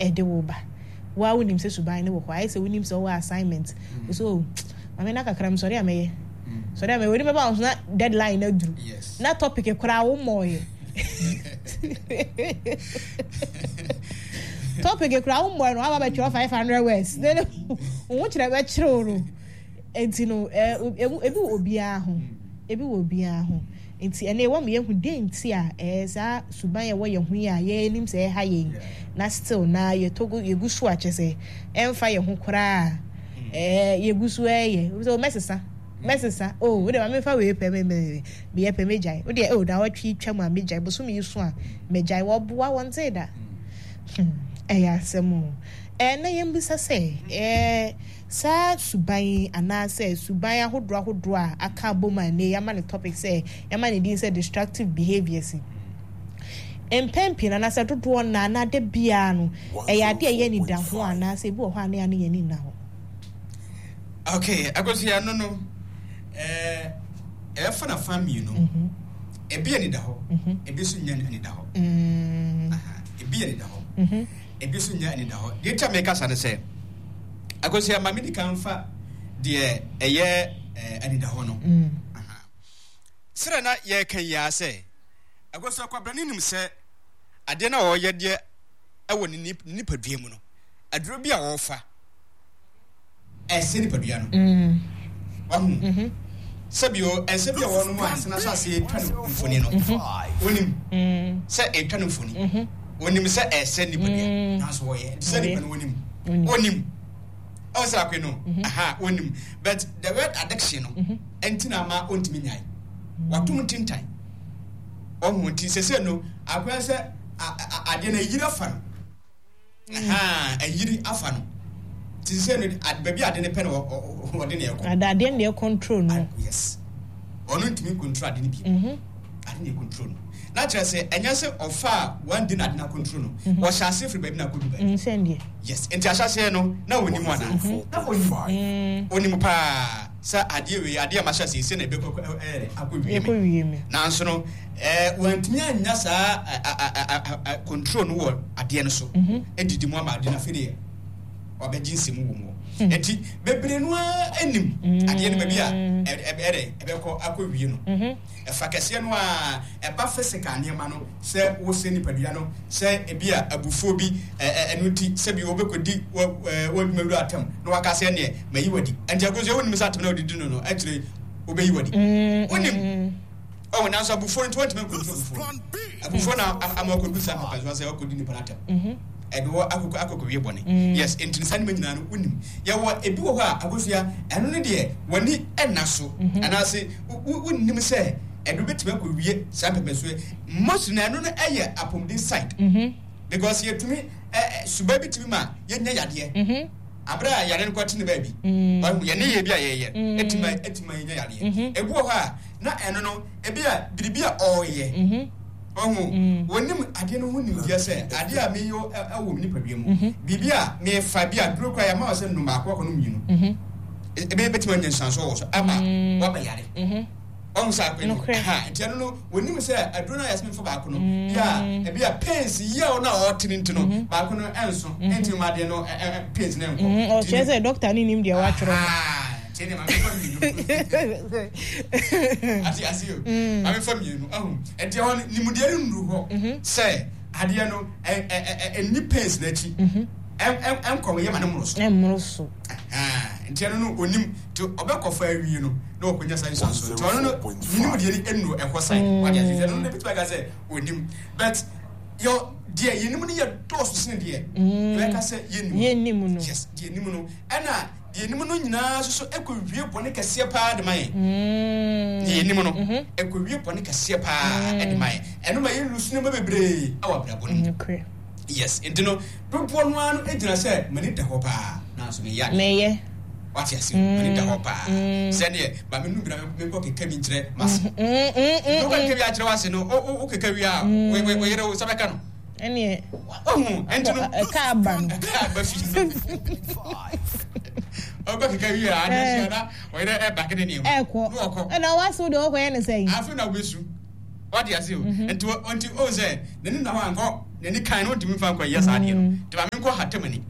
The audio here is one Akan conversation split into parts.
ɛde wo ba. Wo ara wonim sɛ suban no wɔ hɔ. Ayɛ sɛ wonim sɛ wowɔ assignment. Wo sɛ oh, maame na kakra mesɔre a mɛyɛ. Sɔre a mɛyɛ. W'ani bɛba wo so na deadline no aduru. Na topic koraa wo mmɔɔyɛ. Topic koraa wo mmɔɔyɛ no waba bɛtwerɛ 500 words. Wo ho kyerɛ bɛkyerɛw no. Enti no, ebi wɔ obiara ho. Ebi wɔ obiara ho. Enti ɛnnɛ wɔma yɛhu dɛn nti a ɛɛ saa suban a ɛwɔ yɛn ho yi a yɛnim sɛ ɛha yɛn na still na yɛtɔ gu yɛgu so a kyerɛ sɛ ɛmfa yɛn ho koraa a ɛɛ yɛgu so ɛɛyɛ. Obi sɛ o mɛsesa mɛsesa o wo deɛ ma memfa wei pɛ me me meyɛ pɛ mɛgyae wo deɛ o naawɔtwe yi twam a mɛgyae bosome yi so a mɛgyae wɔboa wɔntee da. Hmm ɛyɛ asɛm o. Ɛɛ na yɛmmisa sɛ ɛɛ. Saa suban yi anaasɛ suban ahodoɔ ahodoɔ a aka abom a nnɛ yi yɛama no topic sɛ, yɛama no din sɛ destructive behaviours yi, mpɛn pii no anaasɛ dodoɔ no ara anaa da biara no, ɛyɛ adeɛ a ɛyɛ anidaho anaasɛ ebi wɔ hɔ a na yɛn ani nna hɔ. Okay, Akosua, ɛno no, ɛɛ, ɛbɛfa no afa mmienu. Mhm. Ebi ani da hɔ, mhm. ebi nso nyɛ ani da hɔ. Mm. Ebi ani da hɔ, mhm. ebi nso nyɛ ani da hɔ. Deɛ nti a mekasa no sɛ, Akosua, ma medi kan mfa deɛ ɛyɛ anidahɔ no. Mm. Sɛdeɛ na yɛreka yi ara sɛ, Akosua Kwabrane nim sɛ adeɛ no a ɔreyɛ deɛ ɛwɔ ne nipadua mu no, aduro bi a ɔrefa ɛsɛ nipadua no. Mm. Wahu? Mm-hmm. Sɛbio, ɛsɛ bi a wɔnom a ɛsɛ n'ahyɛ ase etwa no mfoni no. Mm-hmm. Onim mm. sɛ etwa no mfoni. Mm-hmm. Onim sɛ ɛsɛ nipadua. Mm. Nanso wɔyɛ. Nti sɛ nipa no onim. Onim. Ɔn sɛ akwe no. Aha, onim. But the word addiction no, ɛnti na ama ontumi nyae. Watom ntintan. Ɔho nti sɛsɛ no, akɔyɛ sɛ adeɛ no ayiri afa no. Ahaa, ayiri afa no. Ti sɛ no, baabi ade no pɛ na ɔde na ɛkɔ. Ada adeɛ na ɛcontrol no. Yes. Ɔno ntumi control ade no bi. Mhm. Ade na ɛcontrol no. Na kyerɛ sɛ ɛnyɛ sɛ ɔfa a one day na ade na control no. Mhm. Ɔhyɛ ase firi baabi na akɔdu baabi. Mm, sɛndeɛ. Yes. Nti ahyɛaseɛ no na ɔnim ana? Mhm. Na ɔnim. Ɔnim paa sɛ adeɛ wei adeɛ a mahyɛ ase sɛ na ɛbɛkɔ akɔ wie me. Nanso no Eh, wantumi annya saa control no wɔ adeɛ no so adidi mu ama adeɛ no afei deɛ wabɛgye nsɛm wɔ mu hmm. nti bebree no ara anim hmm. adeɛ no baabi a ɛdɛ ɛbɛkɔ akɔwie no mhm. ɛfa kɛseɛ no a ɛba physical nneɛma no sɛ wosɛ nipadua no sɛ ebi a abufuo bi ɛno nti sɛbi wobɛkɔdi w'adwuma wura atam na waka sɛ neɛ mayi wadi nti akɔsɛ wonim sɛ atam na wodidi no no akyire wobɛyi wadi hmm. wonim Ɔwɔ nanso abufuo no nti wɔntumi nkontrol abufuo no. Abufuo na ama ɔkɔdu saa papa so sɛ ɔkɔdi nipa no atɛm. Mhm. Ɛde wɔ akɔkɔ akɔkɔwie bɔne. Mm. Yes, nti no saa nneɛma nyinaa no wonim. Yɛwɔ ebi wɔ hɔ a akosua ɛno no deɛ w'ani ɛnna so mhm. anaasɛ wonnim sɛ ɛno bɛtumi akɔwie saa mpɛpɛsoɔ. Most na ɛno no ɛyɛ apɔmuden side. Mhm. Because yɛtumi suba bi tumi ma yɛnya yadeɛ. Abere a yare no kɔ te ne baabi. Mm. Wahu yɛn ne yɛ bi a yɛyɛ. Ɛtumi ɛtumi yɛnya yadeɛ. Ebi wɔ hɔ a na ɛno no ebi a biribi a ɔreyɛ mhm. ɔho mm. wɔnim adeɛ no ho nimdeɛ sɛ adeɛ a meyɛ ɛwɔ me nipadua mu mhm. biribi a mefa bi a duro kora yɛma wɔ sɛ nom baako akɔ no mmienu mhm. ebe bɛtumi anya nsuansoɔ wɔ so ama mm. waba yare ɔho sɛ akɔ no ha nti ɛno no wɔnim sɛ aduro no a yɛsɛ mefa baako no bi a ebi a pains yɛ no a ɔte no nti no baako no ɛnso ɛnti ma adeɛ no pains no nkɔ ɔkyerɛ sɛ dɔkta no nim deɛ watwerɛ Tie deɛ maame fa mmienu. Ate ase o. Mm. Maame fa mmienu. Ahu. Ɛdeɛ hɔ no nimudeɛ no nnuru hɔ mhm. sɛ adeɛ no ɛnni pains n'akyi. Mhm. Ɛnkɔm yɛ ma ne mmoro so. Ɛmmoro so. Nti ɛno no onim nti ɔbɛkɔfa awie no na ɔkɔnya saa nsuansoɔ nti ɔno no nimdeɛ no nnuru ɛhɔ san mm. wade ase ɛno no ebitumi aka sɛ onim but yɛ deɛ yɛnim no yɛ dɔɔso sene deɛ mm. yɛbɛka sɛ yɛnim no yes deɛ yɛnim no ɛna Deɛ yɛnim no nyinaa nso so kɔwie bɔne kɛseɛ paa de ma yɛn. Mm. Deɛ yɛnim no mhm. ɛkɔwie bɔne kɛseɛ paa mm. de ma yɛn. Ɛno ma yɛn lusu nneɛma bebree wɔ abrabɔ no mu. Yes, nti no dodoɔ no ara no gyina sɛ m'ani da hɔ paa nanso meyɛ adeɛ. Meyɛ. Wate ase m'ani da hɔ paa. Mm. Sɛdeɛ ma me nu bi na menkɔ keka bi nkyerɛ m'ase. Wokɔ keka bi akyerɛ w'ase no, wo keka wie a, wo yere wo nsa bɛka no. Ɛneɛ ɔhu ɛnti no ɛka aba no ɛka aba fi ɔkɔ keka wie a adeɛ hyia na ɔyerɛ ɛba kene nneɛma ɛkɔ na ɔkɔ ɛna wase wo deɛ ɔkɔ yɛ ne sɛn afei na wobɛsu wate ase o mhm. nti nti o sɛ n'ani na hɔ ankɔ n'ani kan no ntumi nfa nkɔ yɛ saa adeɛ no mm. nti maame Menkɔ hata m'ani.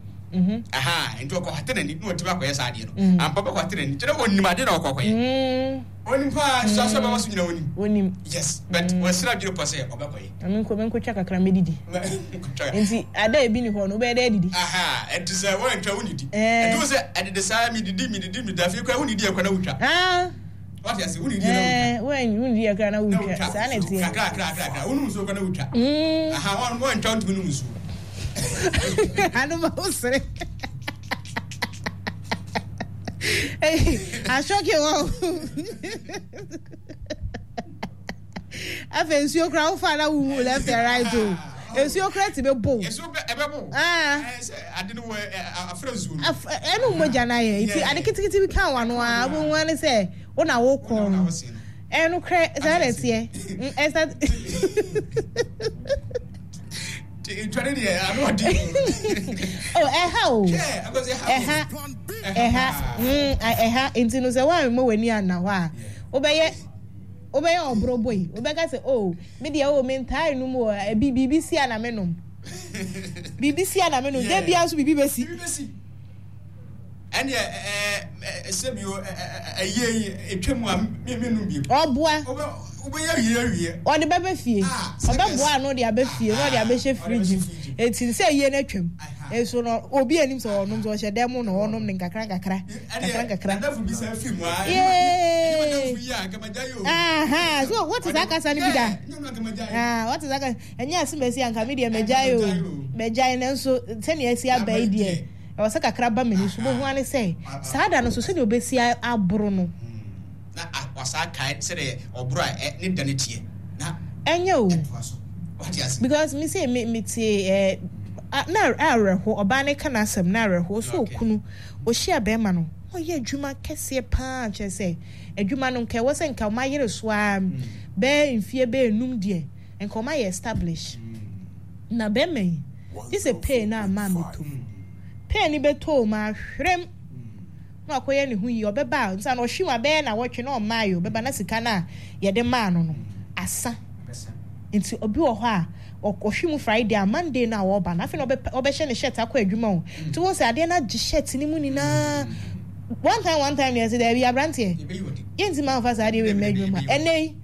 Aha, nti ɔkɔ hata n'ani na ɔtumi akɔyɛ saa adeɛ no. Ampa bɛkɔ hata n'ani. Kyerɛ ɔnim adeɛ na ɔkɔ akɔyɛ. Ɔnim paa, nso asɔ bɛma so nyina ɔnim. Ɔnim. Yes, but wɔasira adwene pɔ sɛ ɔbɛkɔyɛ. Na menkɔ menkɔtwa kakra mɛdidi. Nti ada ebi ni hɔ no wobɛyɛ dɛ adidi. Aha, ɛnti sɛ wɔantwa wonnidi. Ɛnti wo sɛ ɛdede saa medidi medidi medidi afei koraa wonnidi ɛkɔ na wotwa. Ah. Wate ase wonnidi na wotwa. Ɛɛ wonnidi ɛkora na wotwa. Saa na ɛteɛ. Kakra kakra kakra wonom nsuo kora na wotwa. Aha wɔantwa wontumi nom nsuo. Ano ma wo sere. Asɔke wɔ. Afei nsuo kora wofa na wohu left and right o. Nsuo kora ti bɛ bo. Nsuo bɛ ɛbɛ bo. Ɛɛ sɛ ade no wɔ afra nsuo no. Ɛnu mogya na yɛ nti ade kitikiti bi ka wa no a wohu ani sɛ wo na wo kɔn no. Ɛnu korɛ saa na ɛteɛ. Ɛsa. Ntwa ne deɛ ano ɔdi. Oh ɛha o. Ɛha ɛha ɛha nti no sɛ wɔn a w'ani anna hɔ a wobɛyɛ. Wobɛyɛ ɔboro boi. Wobɛka sɛ, Oh, me deɛ, oh, mentaa nnom o, ebi, biribi si a na menom. Biribi si a na menom. Da biara nso biribi bɛsi. Biribi bɛsi. Ɛnneɛ, ɛɛ, sɛbi o, ɛyie yi, ɛtwa mu a, me, mennom bio. Ɔboa. Wobɛyɛ awie awie. Ɔde bɛba fie. Ɔbɛboa ano de aba fie na ɔde abɛhyɛ fridge mu. Eti sɛ ayie no atwam. Nso no, obi anim sɛ ɔnom, sɛ ɔhyɛ dan mu na ɔnom no nkakra nkakra. Kakra nkakra. Yay! Aha, so what is that kasa no bi da? Ah, what is that kasa? Ɛnyɛ asem asi anka me deɛ mɛgyae o. Mɛgyae nanso sɛnea asi aba yi deɛ ɛwɔ sɛ kakra ba m'ani so. Bohu ane sɛ saa da no so sɛnea obesi aboro no. Na wasaa kae sɛdeɛ ɔboro a ne da no teɛ. Na ɛnyɛ o. Ɛtoa so. Wate ase? Because me say me me tie eh, na awerɛho ɔbaa no ka n'asɛm na awerɛho so okunu Ɔhyia bɛɛma no na ɔyɛ adwuma kɛseɛ paa kyerɛ sɛ adwuma no nka ɛwɔ sɛ nka ɔma yere so ara bɛɛ mfie bɛɛ num deɛ nka ɔma yɛ establish na bɛɛma yi gye sɛ pay no ama mɛtɔ mu pay no bɛtɔ mu ahwerɛm na wakɔyɛ ne ho yie ɔbɛba a nsa na ɔhwe mu abɛyɛ na wɔtwe na ɔmaa yɛ ɔbɛba na sika no a yɛde maa no no asa Nti obi wɔ hɔ a ɔhwe mu Friday a Monday no a ɔreba no afei na ɔbɛhyɛ ne shirt akɔ adwuma o. Nti wohu sɛ adeɛ no agye shirt no mu nyinaa. One time one time deɛ ɛsɛ daabi aberanteɛ yɛnti ma nfa saa adeɛ wei mma adwuma mu a ɛnɛ yi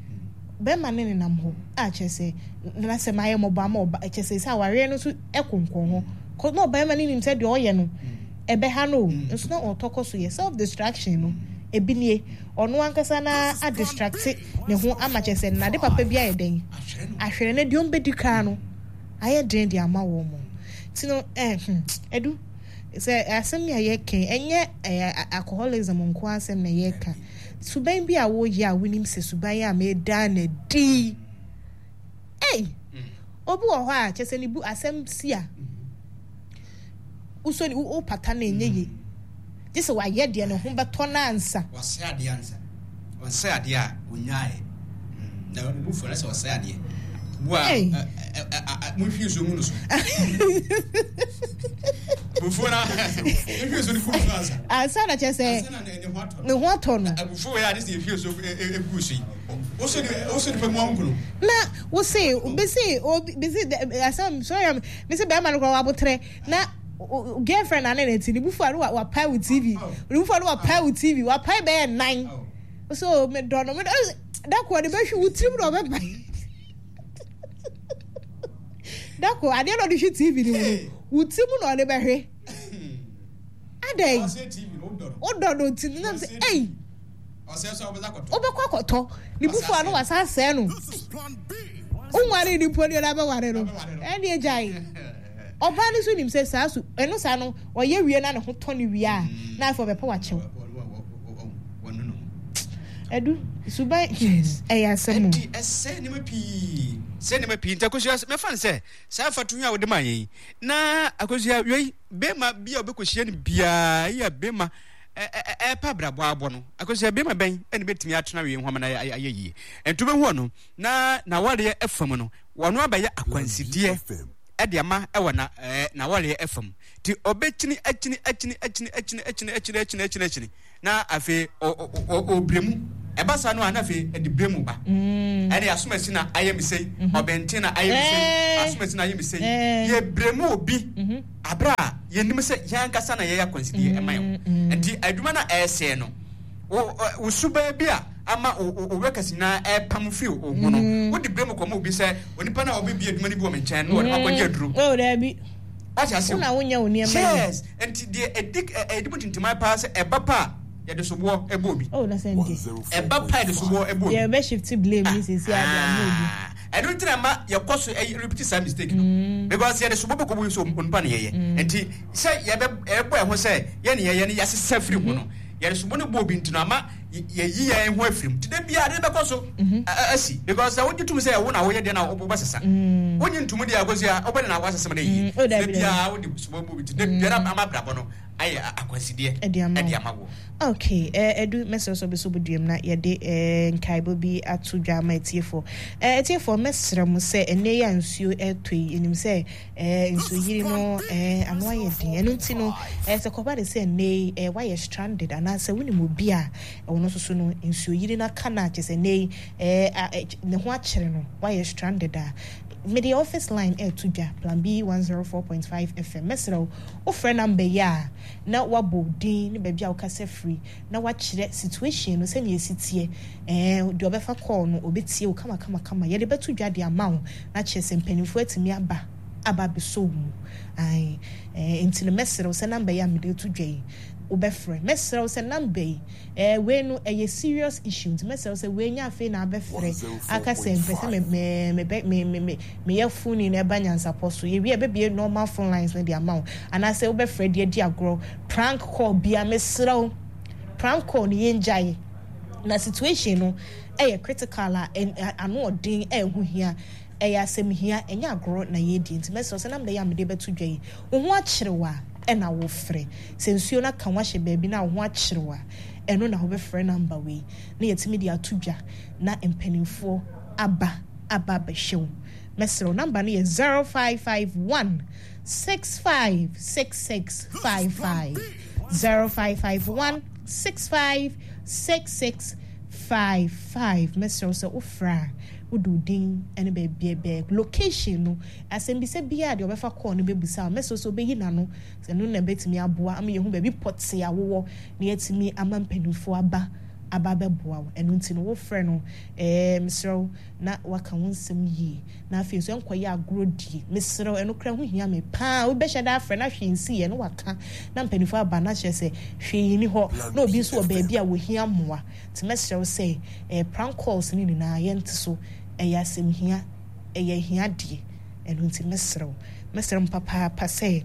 bɛrima ne nenam hɔ a kyerɛ sɛ n'asɛm ayɛ mmɔbɔ ama ɔba kyerɛ sɛ sɛ awareɛ no nso ɛkonkɔn hɔ kɔ na ɔbarima no nim sɛ deɛ ɔyɛ no ɛbɛha no o nso na ɔtɔ kɔ so yɛ self distraction no ebi nie ɔno ankasa na adistracte ne ho ama kyerɛ sɛ nade papa bi ayɛ dɛn ahwere no deɛ ɔmbɛdi koraa no ayɛ den de ama wɔn mo nti no eh, hmm, ɛdu sɛ asɛm a yɛka ɛnyɛ eh, alcoholism nko asɛm na yɛka suban bi a woyɛ a wonim sɛ suban a meda na di ei obi wɔ hɔ a kyerɛ sɛ ne bu asɛm si a wosɔ ne wo pata no ɛnyɛ yie gye sɛ wayɛ deɛ ne ho bɛtɔ no ansa. Wɔsɛe adeɛ ansa. Wɔsɛe adeɛ a ɔnyaeɛ. Na ne bu fo no sɛ ɔsɛe adeɛ. Bu a monhwie nsuo ngu no so. Bufuo no nhwie nsuo no gu no so ansa. Ansa na kyerɛ sɛ ne ho atɔ no. Abufuo wei a ne sɛ yɛhwie nsuo gu so yi. Wosɔ nipa mu angu no. Na wose bese obi bese asɛm sorry am mese bɛrima no koraa wabotrɛ na girlfriend na ne ne ti ne bufu a no wapae wo tv ne bufu a no wapae wo tv wapae bɛyɛ nan so me dɔ no me dɔ dako ɔde bɛhwe wo tirim na ɔbɛpae dako adeɛ na ɔde hwe tv no mu no wo tirim na ɔde bɛhwe adɛn wodɔ no ti no nam sɛ ei wobɛkɔ akɔtɔ ne bufu a no wasa asɛe no wonware ne mpo ne ɔde abɛware no ɛne agyae ɔbaa no nso nim sɛ saa su ɛno saa no ɔyɛ wie na ne ho tɔ ne wie a na afei ɔbɛpɛ wakyɛw ɛdu suban ɛyɛ asɛm o ɛdi ɛsɛ nneɛma pii sɛ nneɛma pii nti akosua mɛfa no sɛ saa mfatoho a wode ma yɛn na akosua wei bɛrima bi a wobɛkɔhyia no biara yɛ bɛrima ɛrepa abrabɔ abɔ no, akosua bɛrima bɛn ɛna bɛtumi atena wei ho ama no ayɛ yie? Nti wobɛhu ɔno na n'awareɛ ɛfa mu no, wɔno abɛyɛ akwansideɛ ɛde ama ɛwɔ na ɛɛ n'awareɛ ɛfa mu. Nti ɔbɛkyini akyini akyini akyini akyini akyini akyini akyini akyini akyini na afei ɔbrɛ mu. Ɛba saa no a na afei ɛde brɛ mu ba. Mm. Ɛne asomasi na ayɛ me sei, mhm. ɔbɛnten na ayɛ me sei, asomasi na ayɛ me sei. Yɛbrɛ mu obi mhm. abere a Yɛnim sɛ yɛn ankasa na yɛyɛ akwansideɛ ɛma yɛn ho. Nti adwuma no a ɛresɛe no, wo wo suban bi a ama wo wo workers nyinaa ɛrepam firi wo ho no, wode berɛ mu kɔma obi sɛ onipa no a ɔbɛbie adwuma no bi wɔ me nkyɛn no na ɔde makɔgye aduro. Oh, daabi. Wate ase o? Wo na wonyɛ wo nneɛma yie. Yes. Nti deɛ ɛdi ɛdi mu tintiman paa sɛ ɛba pa a yɛde soboɔ ɛbɔ obi. Oh, na sɛ nde. Ɛba pa a yɛde soboɔ ɛbɔ obi. Yɛbɛ shift blame ni sisi ade ama obi. Ɛno nti na ɛma yɛkɔ so repeat saa mistake no. Because yɛde soboɔ bɛkɔ mu sɛ onipa na yɛyɛ. Nti sɛ yɛbɛ yɛbɔ ɛho sɛ yɛn na yɛyɛ no yɛasesa firi ho no, yɛde soboɔ no bɔ obi nti no ama yɛyi yɛn ho afiri mu. Nti da biara ade no bɛkɔ so asi. Because sɛ wogye tom sɛ wo na woyɛ deɛ na wobɛsesa. Wonnye ntom deɛ akɔsi a wobɛde na woasesa ma no ayie. Da biara wode soboɔ bɔ obi nti da biara ama abrabɔ no ayɛ akwansideɛ Ɛde ama ɛde wo. ama woɔ. Ok, eh, Adu, mɛsrɛ sɛ wobɛsɔ wo duam na yɛde eh, nkaebɔ bi ato dwa ama atiefoɔ. Eh, atiefoɔ, mɛsrɛ mo sɛ ɛnnɛ yi a nsuo ɛretɔ yi, yɛnim sɛ eh, nsuoyiri no eh, ano ayɛ den. Ɛno nti no, eh, sɛ kɔba de sɛ ɛnnɛ yi eh, woayɛ stranded anaasɛ wonim obi a ɔno nso so no nsuoyiri no aka no a, kyerɛ sɛ ɛnnɛ yi eh, a, eh, ne ho akyere no, woayɛ stranded a, mede office line ɛreto dwa, Plan B 104.5 FM. Mɛsrɛ wo, wofrɛ number yi a, na woabɔ wo din ne baabi a wokasa firi, na woakyerɛ situation no sɛnea ɛsi teɛ. Ɛɛ, deɛ ɔbɛfa call no, ɔbɛtie wo kamakamakama. Yɛde bɛto dwa de ama wo, na kyerɛ sɛ mpanimfoɔ atumi aba aba abɛsɔ wo mu. Ae, ɛɛ, nti no mɛsrɛ wo sɛ number yi a mede reto dwa yi, wobɛfrɛ. Mɛsrɛ wo sɛ number yi, ɛɛ, wei no ɛyɛ serious issue, nti mɛsrɛ wo sɛ wei nyɛ afei na abɛfrɛ aka sɛ mpɛ sɛ me, me, me, me, me, me, Meyɛ phone na ɛba nyansapɔ so. Yɛwie a yɛbɛbue normal phone lines no de ama wo. Anaasɛ wobɛfrɛ de adi agorɔ. Prank call bia mesrɛ wo prank call no yɛngyae. Na situation no ɛyɛ critical a ano ɔden a ɛho hia. Ɛyɛ asɛm hia ɛnyɛ agorɔ na yɛredi. Nti mɛsrɛ wo sɛ number yi a mede bɛto dwa yi wo ho akyere wo a ɛna wofrɛ. Sɛ nsuo no aka wo ahyɛ baabi na wo ho akyere wo a ɛno na wobɛfrɛ number wei na yɛatumi de ato dwa na mpanimfoɔ aba aba abɛhwɛ wo. Mɛsrɛ wo, number no yɛ 0551 656655. 0551 656655. Mɛsrɛ wo sɛ wofrɛ a, wode wo din ne baabi bɛ location no, asɛmbisa biara deɛ ɔbɛfa call no bɛbusa wo. Mɛsrɛ wo sɛ wobɛyi n'ano, ɛno na ɛbɛtumi aboa ama yɛahu baabi pɔtee a wowɔ na yɛatumi ama mpanimfoɔ aba aba abɛboa wo. Ɛno nti no, wofrɛ no, ɛɛ, mesrɛ wo, na waka wo nsɛm yie, na afei nso ɛnkɔyɛ agorɔ die. Mesrɛ wo, ɛno koraa ho hia me paa. Obi bɛhyɛ da afrɛ na hwee nsiiɛ na waka, na mpanimfoɔ aba na kyerɛ sɛ hwee nni hɔ, na obi nso wɔ baabi a wɔhia mmoa. Nti mɛsrɛ wo sɛ, eh, prank calls no nyinaa yɛnte so. Ɛyɛ asɛm hia, ɛyɛ ahiadeɛ. Ɛno nti mɛsrɛ wo, mɛsrɛ mo papaapa sɛ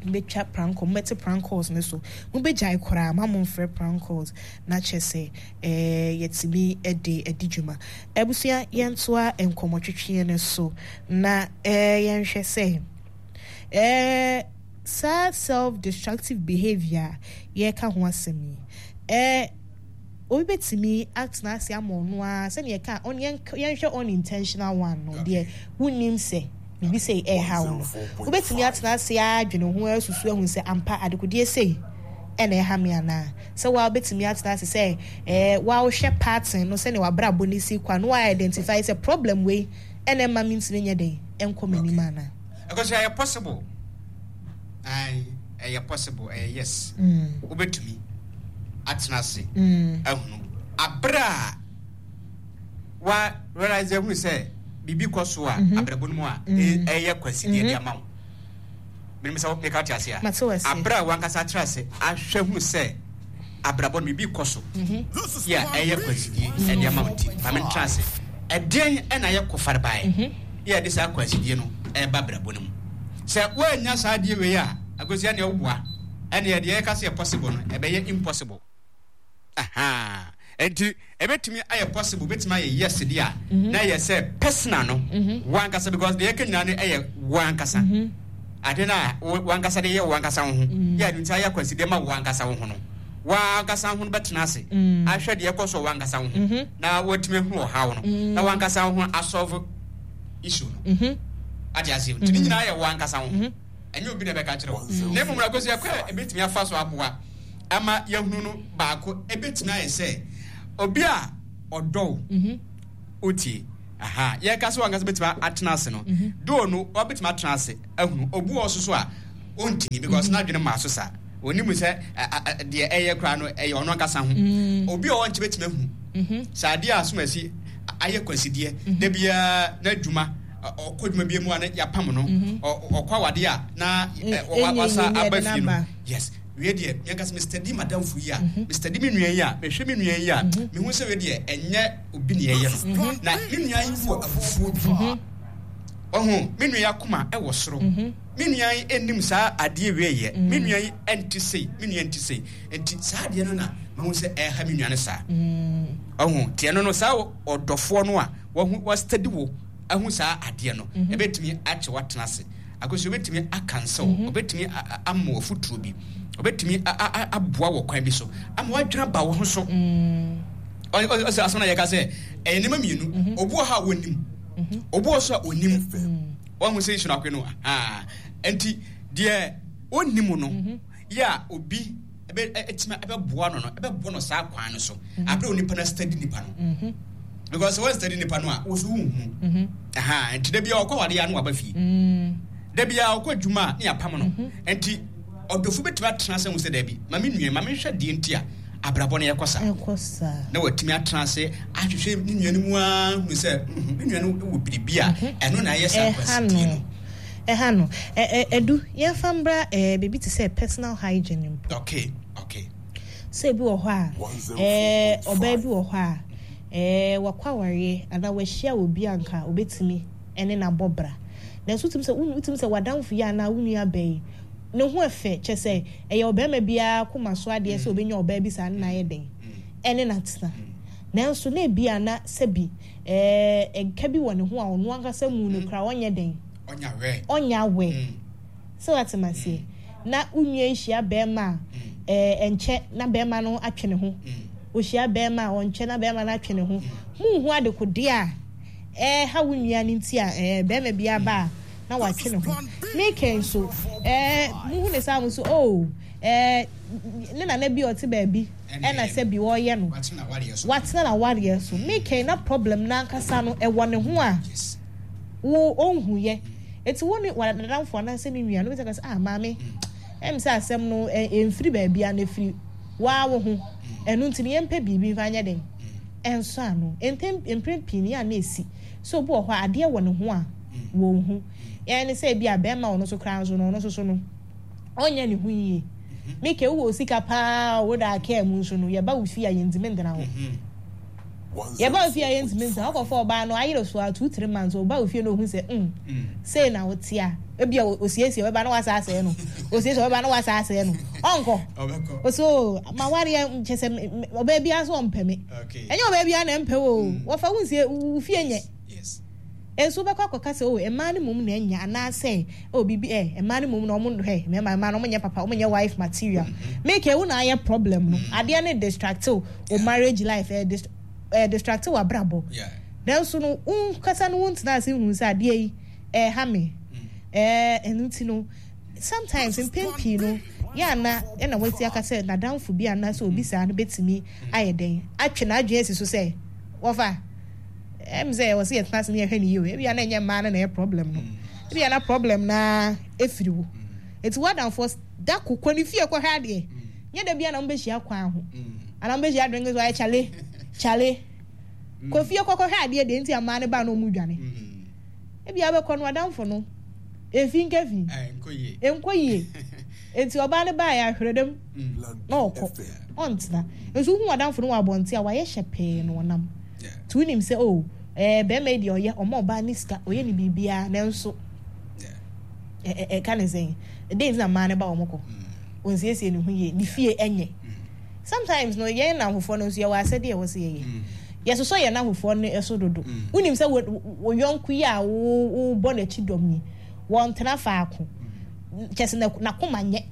mobɛtwa prank call, mobɛte prank calls no so. Mobɛgyae koraa, mma momfrɛ prank calls na kyerɛ sɛ eh, yɛatumi de adi dwuma. Abusua, yɛntoa nkɔmmɔtwetweɛ no so na eh, yɛnhwɛ sɛ eh, saa self-destructive behavior a yɛreka ho asɛm yi, eh, obi bɛtumi atena ase ama ɔno ara sɛdeɛ yɛka on yɛnhwɛ unintentional one no deɛ wonnim sɛ biribi sei ɛreha wo no wobɛtumi atena ase adwene ho asusu ahu sɛ ampa adekodeɛ sei ɛna ɛha me anaa sɛ waa wobɛtumi atena ase sɛ ɛɛ waa wohwɛ pattern no sɛnea wabrabɔ no si kɔ a na waa identify sɛ problem wei ɛna ɛma me ntumi nyɛ dɛn ɛnkɔ m'anim anaa. Ɛkɔsɛ ɛyɛ possible. Ae, ɛyɛ possible, ɛyɛ yes. Wobɛtumi atena ase ahunu abere a wa realize ahunu sɛ biribi kɔ so a abrabɔ no mu a ɛyɛ kwasideɛ de ama wo. Menim sɛ meka te ase a. Abere a wankasa atena ase ahwɛ hunu sɛ abrabɔ no biribi kɔ so yɛ a ɛyɛ kwansidie ɛde ama wo nti ma mentena ase. Ɛdeɛn ɛna ayɛ kɔfarebaeɛ yɛ ɛde saa kwansidie no ɛreba abrabɔ no mu? Sɛ woannya saa adeɛ wei a, Akosua neɛ woboa ɛneɛ deɛ yɛka sɛ yɛ possible no ɛbɛyɛ impossible. Ahaa. Ɛnti ɛbɛtumi ayɛ possible, bɛtumi ayɛ yes deɛ a, na ɛyɛ sɛ personal no, wankasa because deɛ yɛka nyinaa no ɛyɛ wankasa. Ade no a wankasa de yɛ wankasa wo ho, yɛ ade nti ayɛ akwansideɛ ma wankasa wo ho no, wankasa ho no bɛtena ase ahwɛ deɛ ɛkɔ so wankasa wo ho na watumi ahunu ɔhaw no na wankasa wo ho asɔlve issue no. Ate aseɛ? Nti ne nyinaa yɛ wankasa wo ho. Ɛnyɛ obi na ɛbɛka kyerɛ wo. Na mmom no, Akosua, kwan a ɛbɛtumi afa so aboa ama yɛahunu no baako ɛbɛtumi ayɛ sɛ obi a ɔdɔ wo, wotie, aha, yɛka sɛ wankasa bɛtumi atena ase no, doo no wabɛtumi atena ase ahunu. Obi wɔ so so a, Ɔntumi because n'adwene maa so saa. Ɔnim sɛ deɛ ɛyɛ koraa no ɛyɛ ɔno ankasa ho. Obi a ɔwɔ nkyɛn bɛtumi ahu sɛ adeɛ a asomasi ayɛ kwansideɛ da biara n'adwuma ɔkɔ adwuma bi mu a na yɛapam no, ɔkɔ awadeɛ a na wasa aba fie no. Yes, wei deɛ yɛnka sɛ mestadi madamfo yi a, mestadi me nua yi a, mehwɛ me nua yi a, mehu sɛ wei deɛ ɛnyɛ obi na ɛyɛ no. Na me nua yi wɔ abufuo bi. Ɔho, me nua yi akoma ɛwɔ soro. Me nua yi nnim saa adeɛ wei yɛ. Me nua yi nte sei, me nua nte sei. Nti saa adeɛ no na mahu sɛ ɛha me nua no saa. Ɔho, nti ɛno no saa ɔdɔfoɔ no a wahu wastadi wo ahu saa adeɛ no, ɛbɛtumi akyɛ watena ase. Akosi obɛtumi akansa wo, obɛtumi ama wo afotuo bi, obɛtumi aboa wɔ kwan bi so ama wadwene aba wo ho so. Ɔsɛ asɛm na yɛka sɛ ɛyɛ nneɛma mmienu. Obi wɔ hɔ a wɔnim, obi wɔ so a ɔnim. Wahu sɛ isu no akwe no ahaa. Nti deɛ ɔnni mu no mhm. yɛ a obi ɛtumi ɛbɛboa no no ɛbɛboa no saa kwan no so mhm. abere onipa no study nipa no mhm. because wɔn study nipa no a wɔso wohu aha nti da bia ɔkɔ awade ya no waba fie mm. da bia ɔkɔ adwuma a ne apam no nti ɔdɔfo bɛtumi atena sɛ ho sɛ daabi ma me nua ma menhwɛ deɛ nti a abrabɔ no yɛkɔ saa na watumi atena ase ahwehwɛ ne nua no mu ara hunu sɛ mhm, me nua no wɔ biribi a mhm. ɛno na ayɛ saa nkwasidie no. Ɛha no ɛdu yɛmfa mbra biribi te sɛ personal hygiene mpo. Okay. Sɛ ebi wɔ hɔ a ɔbaa bi wɔ hɔ a wakɔ awareɛ anaa wahyia obi a nka obetumi ɛne no abɔ bra nanso wotumi sɛ wotumi sɛ w'adamfo yi anaa wo nua bɛyi ne ho ɛfɛ kyɛ sɛ Ɛyɛ ɔbarima biara koma so adeɛ sɛ ɔbɛnya ɔbaa bi saa ne no ayɛ dɛn? Ɛne no atena. Nanso na ebia na sɛbi ɛɛ nka bi wɔ ne ho a ɔno ankasa mu no koraa ɔnyɛ dɛn? Ɔnyɛ aware. Sɛ woate me aseɛ? Na wo nua yi hyia barima a, ɛɛ ɛnkyɛ na barima no atwe ne ho. Ɔhyia barima a, ɔnkyɛ na barima no atwe ne ho. Monhu adekodeɛ a ɛreha wo nua no nti a ɛɛ barima bi aba a na watwe ne ho. Mika nso, ɛɛ muhu ne saa mo so, oh, ɛɛ ne nana bi a ɔte baabi ɛna sɛ bi ɔreyɛ no. Watena n'awareɛ so. Mika na problem n'ankasa no ɛwɔ ne ho a wo ɔnhu yɛ. Eti wo ne w'adamfo anaasɛ ne nua no bɛtumi aka sɛ, ah maame, ɛm sɛ asɛm no ɛmfiri baabi a na ɛfiri waa wo ho. Ɛno nti no yɛmpɛ biribi mfa nyɛ den. Ɛnsɔ ano. Mpɛn mprɛ pii no yɛ a na ɛsi sɛ obi wɔ hɔ a adeɛ wɔ ne ho a wɔnhu. Yɛn ne sɛ ebia bɛrima a ɔno nso koraa nso no, ɔno nso so no, ɔnyɛ ne ho yie. Mike, wowɔ sika paa o, woda kaa mu nso no, yɛba wo fie a yɛntumi ntena hɔ. Yɛba wo fie a yɛntumi ntena hɔ. Wokɔfa ɔbaa no, ayere so a, 2, 3 months, ɔba wo fie na ohu sɛ, sei na wote a, ebia osiesie ɔbɛba na wasa asɛe no. Osiesie ɔbɛba na wasa asɛe no. Ɔnkɔ. Ɔsɛ o, m'awareɛ kyɛ sɛ ɔbaa biara nso ɔmpɛ me. Ɛnyɛ ɔbaa biara na ɛmpɛ wo o. Wɔfa wo nsie, wo fie nyɛ. Nso wobɛkɔ akɔka sɛ, oh, mmaa no mmom na anya, anaasɛ, oh, biribi, eh, mmaa no mmom na wɔn, hwɛ, mmarima, mmaa no, wɔnyɛ papa, wɔnyɛ wife material. Make wo na ayɛ problem no. Adeɛ no distract wo marriage life, eh, dist eh, distract w'abrabɔ. Nanso no, wo nkasa no wontena ase nhunu sɛ adeɛ yi, ɛreha me. Eh, ɛno nti no, sometimes, mpɛn pii no, yɛ ana ɛna wasi aka sɛ n'adamfo bi anaasɛ obi saa no bɛtumi ayɛ dɛn, atwe n'adwene asi so sɛ, wɔfa, Ɛyɛ me sɛ ɛwɔ sɛ yɛtena ase na yɛhwɛ no yie o. Ebia na ɛnyɛ mmaa no na ɛyɛ problem no. Ebia na problem no ara ɛfiri wo. Enti w'adamfoɔ da ko kɔ ne fie kɔhwɛ adeɛ. Nyɛ da biara na mobɛhyia kwan ho. Anaa mobɛhyia drink so ayɛ kyale kyale. Kɔ fie kɔkɔhwɛ adeɛ deɛ nti a mmaa no ba na wɔn dwane. Ebia wobɛkɔ no w'adamfo no efi nka fi. Ɛnkɔ yie. Enti ɔbaa no baeɛ ahwerɛ dam na ɔkɔ. Ɔntena. Nso wohu w'adamfo no wɔ abɔnten a wayɛ hyɛpɛɛ na ɔnam. Nti wonim sɛ oh ɛɛ bɛrima yi deɛ ɔyɛ ɔma ɔbaa ne sika ɔyɛ ne biribiara nanso ɛka ne sɛn ɛdɛn nti na mmaa no ba wɔn kɔ ɔnsiesie ne ho yie ne fie ɛnyɛ sometimes no yɛn nnamfofoɔ no nso yɛwɔ asɛdeɛ ɛwɔ sɛ yɛyɛ yɛsosɔ yɛn nnamfofoɔ no so dodo wonim sɛ wo yɔnko yi a wobɔ n'akyi dɔm yi wɔntena faako kyɛ sɛ n'akoma nyɛ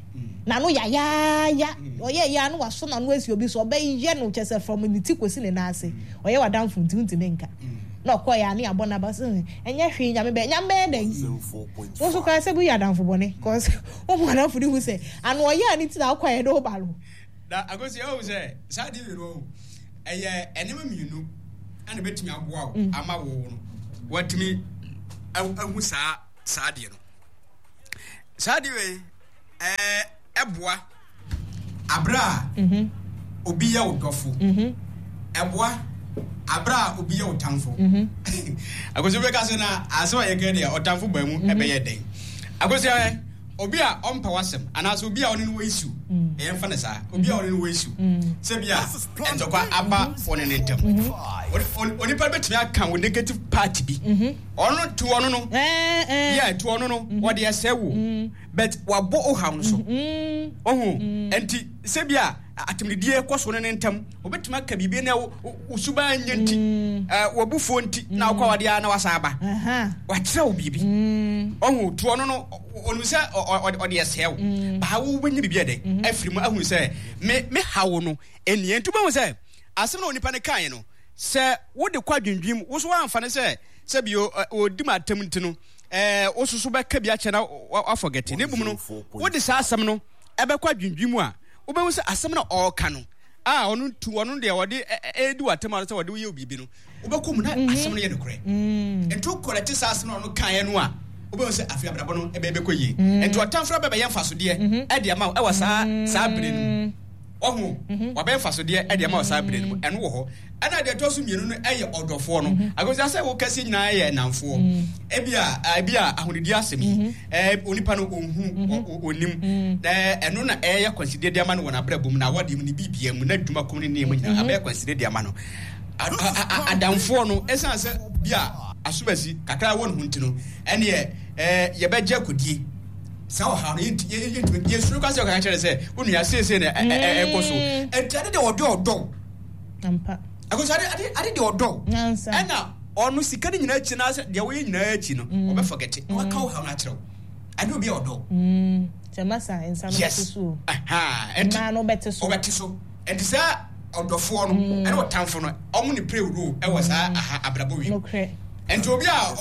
n'ano yayaaya ɔyɛ yɛ ano waso n'ano asi obi so ɔbɛyɛ no kyɛ sɛ from ne ti kɔsi ne nan ase ɔyɛ w'adamfo nti wontumi nka na ɔkɔ yɛ ano abɔ n'aba so ɛnyɛ hwee nyame bɛyɛ nyame bɛyɛ dɛn wo nso koraa sɛ woyɛ adamfo bɔne cause wo mu adamfo no hu sɛ ano ɔyɛ a ne ti na akɔ yɛ de wo ba no. Na akosi ɛwɔ sɛ saa de wei ɛyɛ nneɛma mmienu ɛna bɛtumi aboa wo ama wo no watumi ahu saa saa deɛ no saa deɛ wei. Ɛboa aberɛ a obi yɛ wo dɔfo. Ɛboa aberɛ a obi yɛ wo tamfo. Akosua bɛka sɛ na asɛm a yɛka deɛ ɔtamfo baa mu ɛbɛyɛ dɛn? Akosua ɛ, obi a ɔmpɛ w'asɛm anaasɛ obi a ɔne no wɔ issue, yɛmfa no saa, obi a ɔne no wɔ issue, sɛ bi a ntɔkwa aba wɔne ne ntam. Onipa bɛtumi aka wo negative part bi. Ɔno to ɔno no. Yeah, to ɔno no. Ɔde ɛsɛ wo. But wabɔ wo haw no so. Ɔho nti sɛ bi a atemdidie kɔ so no ne ntam, obetumi aka biribi na wo suban nyɛ nti, wabufuo nti na wokɔ awadeɛ a na wasa aba. Wakyerɛ wo biribi. Ɔho to ɔno no, ɔnim sɛ ɔde ɛsɛe wo. Baa wo wobɛnya biribi ɛdɛ afiri mu ahunu sɛ me me haw no ɛnie. Nti wobɛhu sɛ asɛm na onipa no kaeɛ no, sɛ wode kɔ adwendwen mu, wo so woamfa no sɛ sɛ bio ɔdi ma atam nti no, ɛɛ wo soso bɛka bi akyɛ na wafɔgɛte. Na mmom no, wode saa asɛm no ɛbɛkɔ adwendwen mu a, wobɛhu sɛ asɛm no a ɔreka no, a ɔno tu ɔno deɛ ɔde ɛredi w'atam a sɛ ɔde woyɛ biribi no, wobɛkɔ mu na asɛm no yɛ nokorɛ. Nti wokɔlɛte saa asɛm no a ɔno kaeɛ no a, wobɛhu sɛ afei abrabɔ no ɛbɛyɛ bɛkɔ yie. Nti ɔtamfo no bɛbɛyɛ mfasodeɛ ɛde ama wo ɛwɔ saa saa bere no mu. Wahu? Wabɛyɛ mfasodeɛ ɛde ama wo saa bere no mu. Ɛno wɔ hɔ. Ɛna deɛ ɛtɔ so mmienu no yɛ ɔdɔfoɔ no. Mhm. Agosia sɛ wo kɛseɛ nyinaa yɛ nnamfoɔ. Mm. Ebi a ebi a ahonidie asɛm yi mhm. ɛɛ onipa no ɔnhu mm. ɔnim. Mm. Na ɛno na ɛyɛ kwansideɛ de ama no wɔ n'abrabɔ mu na awadeɛ mu ne biribiara mu n'adwuma kɔm ne nneɛma nyinaa mhm. abɛyɛ kwansideɛ de ama no. Adamfoɔ no ɛsan sɛ bi a asomasi kakra wɔ ne ho nti no ɛneɛ ɛɛ yɛbɛgye akɔdie saa ɔhaw no yɛntumi yɛsuro kɔ sɛ ɔkaka kyerɛ sɛ wo nua seesei na ɛkɔ so nti ade deɛ ɔdɔ ɔdɔ Ampa. Ɛkɔsɛ ade ade ade deɛ ɔdɔ. Nyansa. Ɛna ɔno sika no nyinaa akyi na sɛ deɛ woyɛ nyinaa akyi no mm. ɔbɛ forget na waka wo haw no akyerɛ wo. Ade obi a ɔdɔ. Mm. Sɛ masa nsa no bɛte so o. Mmaa no bɛte so. Ɔbɛte so. Ɛnti saa ɔdɔfoɔ no mm. ɛne ɔtamfo no ɔmo ne play role ɛwɔ saa aha abrabɔ wi. Nokorɛ. Nti obi a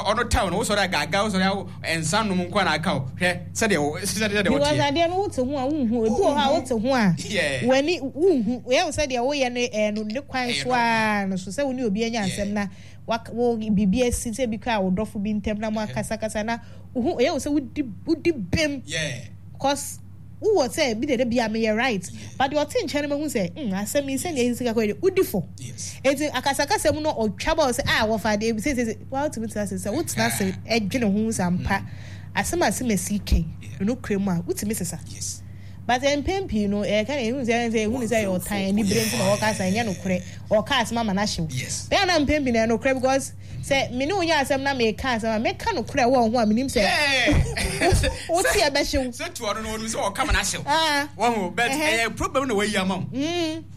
ɔno taw no wosɔre agaaga wosɔre awo nsa nom nko na aka o hwɛ sɛdeɛ sɛdeɛ woteɛ. Because adeɛ no wote ho a wonhu ebi wɔ hɔ a wote ho a w'ani wonhu yɛ wo sɛdeɛ woyɛ no ɛɛ no ne kwan so ara no so sɛ wo ne obi anya asɛm na wo biribi asi sɛ bi koraa wo dɔfo bi ntam na mo akasakasa na wohu yɛ wo sɛ wodi wodi bem cause wowɔ sɛ bi dede bia meyɛ right but deɛ ɔte nkyɛn no mahu sɛ mm asɛm yi sɛdeɛ ɛsi kakɔ yi wodi fɔ eti akasakasa mu no ɔtwa bɔ sɛ ah wɔfa adeɛ bi sɛ sɛ wa wotumi tena ase sɛ wotena ase ɛdwene ho sɛ ampa asɛm asɛm asi kɛn no kura mu a wotumi sesa but mpɛn pii no ɛyɛ ka na ehu sɛ ɛsɛ ehu ne sɛ ɛyɛ ɔtan anibere nti na ɔka asa ɛnyɛ nokorɛ ɔka asɛm ama no ahyew bɛyɛ na mpɛn pii na ɛyɛ nokorɛ because Sɛ me ne wo nya asɛm na meka asɛm a, mɛka nokorɛ wɔ wo ho a menim sɛ wo te ɛbɛhye wo. Sɛ toa no no, ɔnim sɛ ɔka ma no ahyew. Wahu, but ɛyɛ problem na wayi ama wo.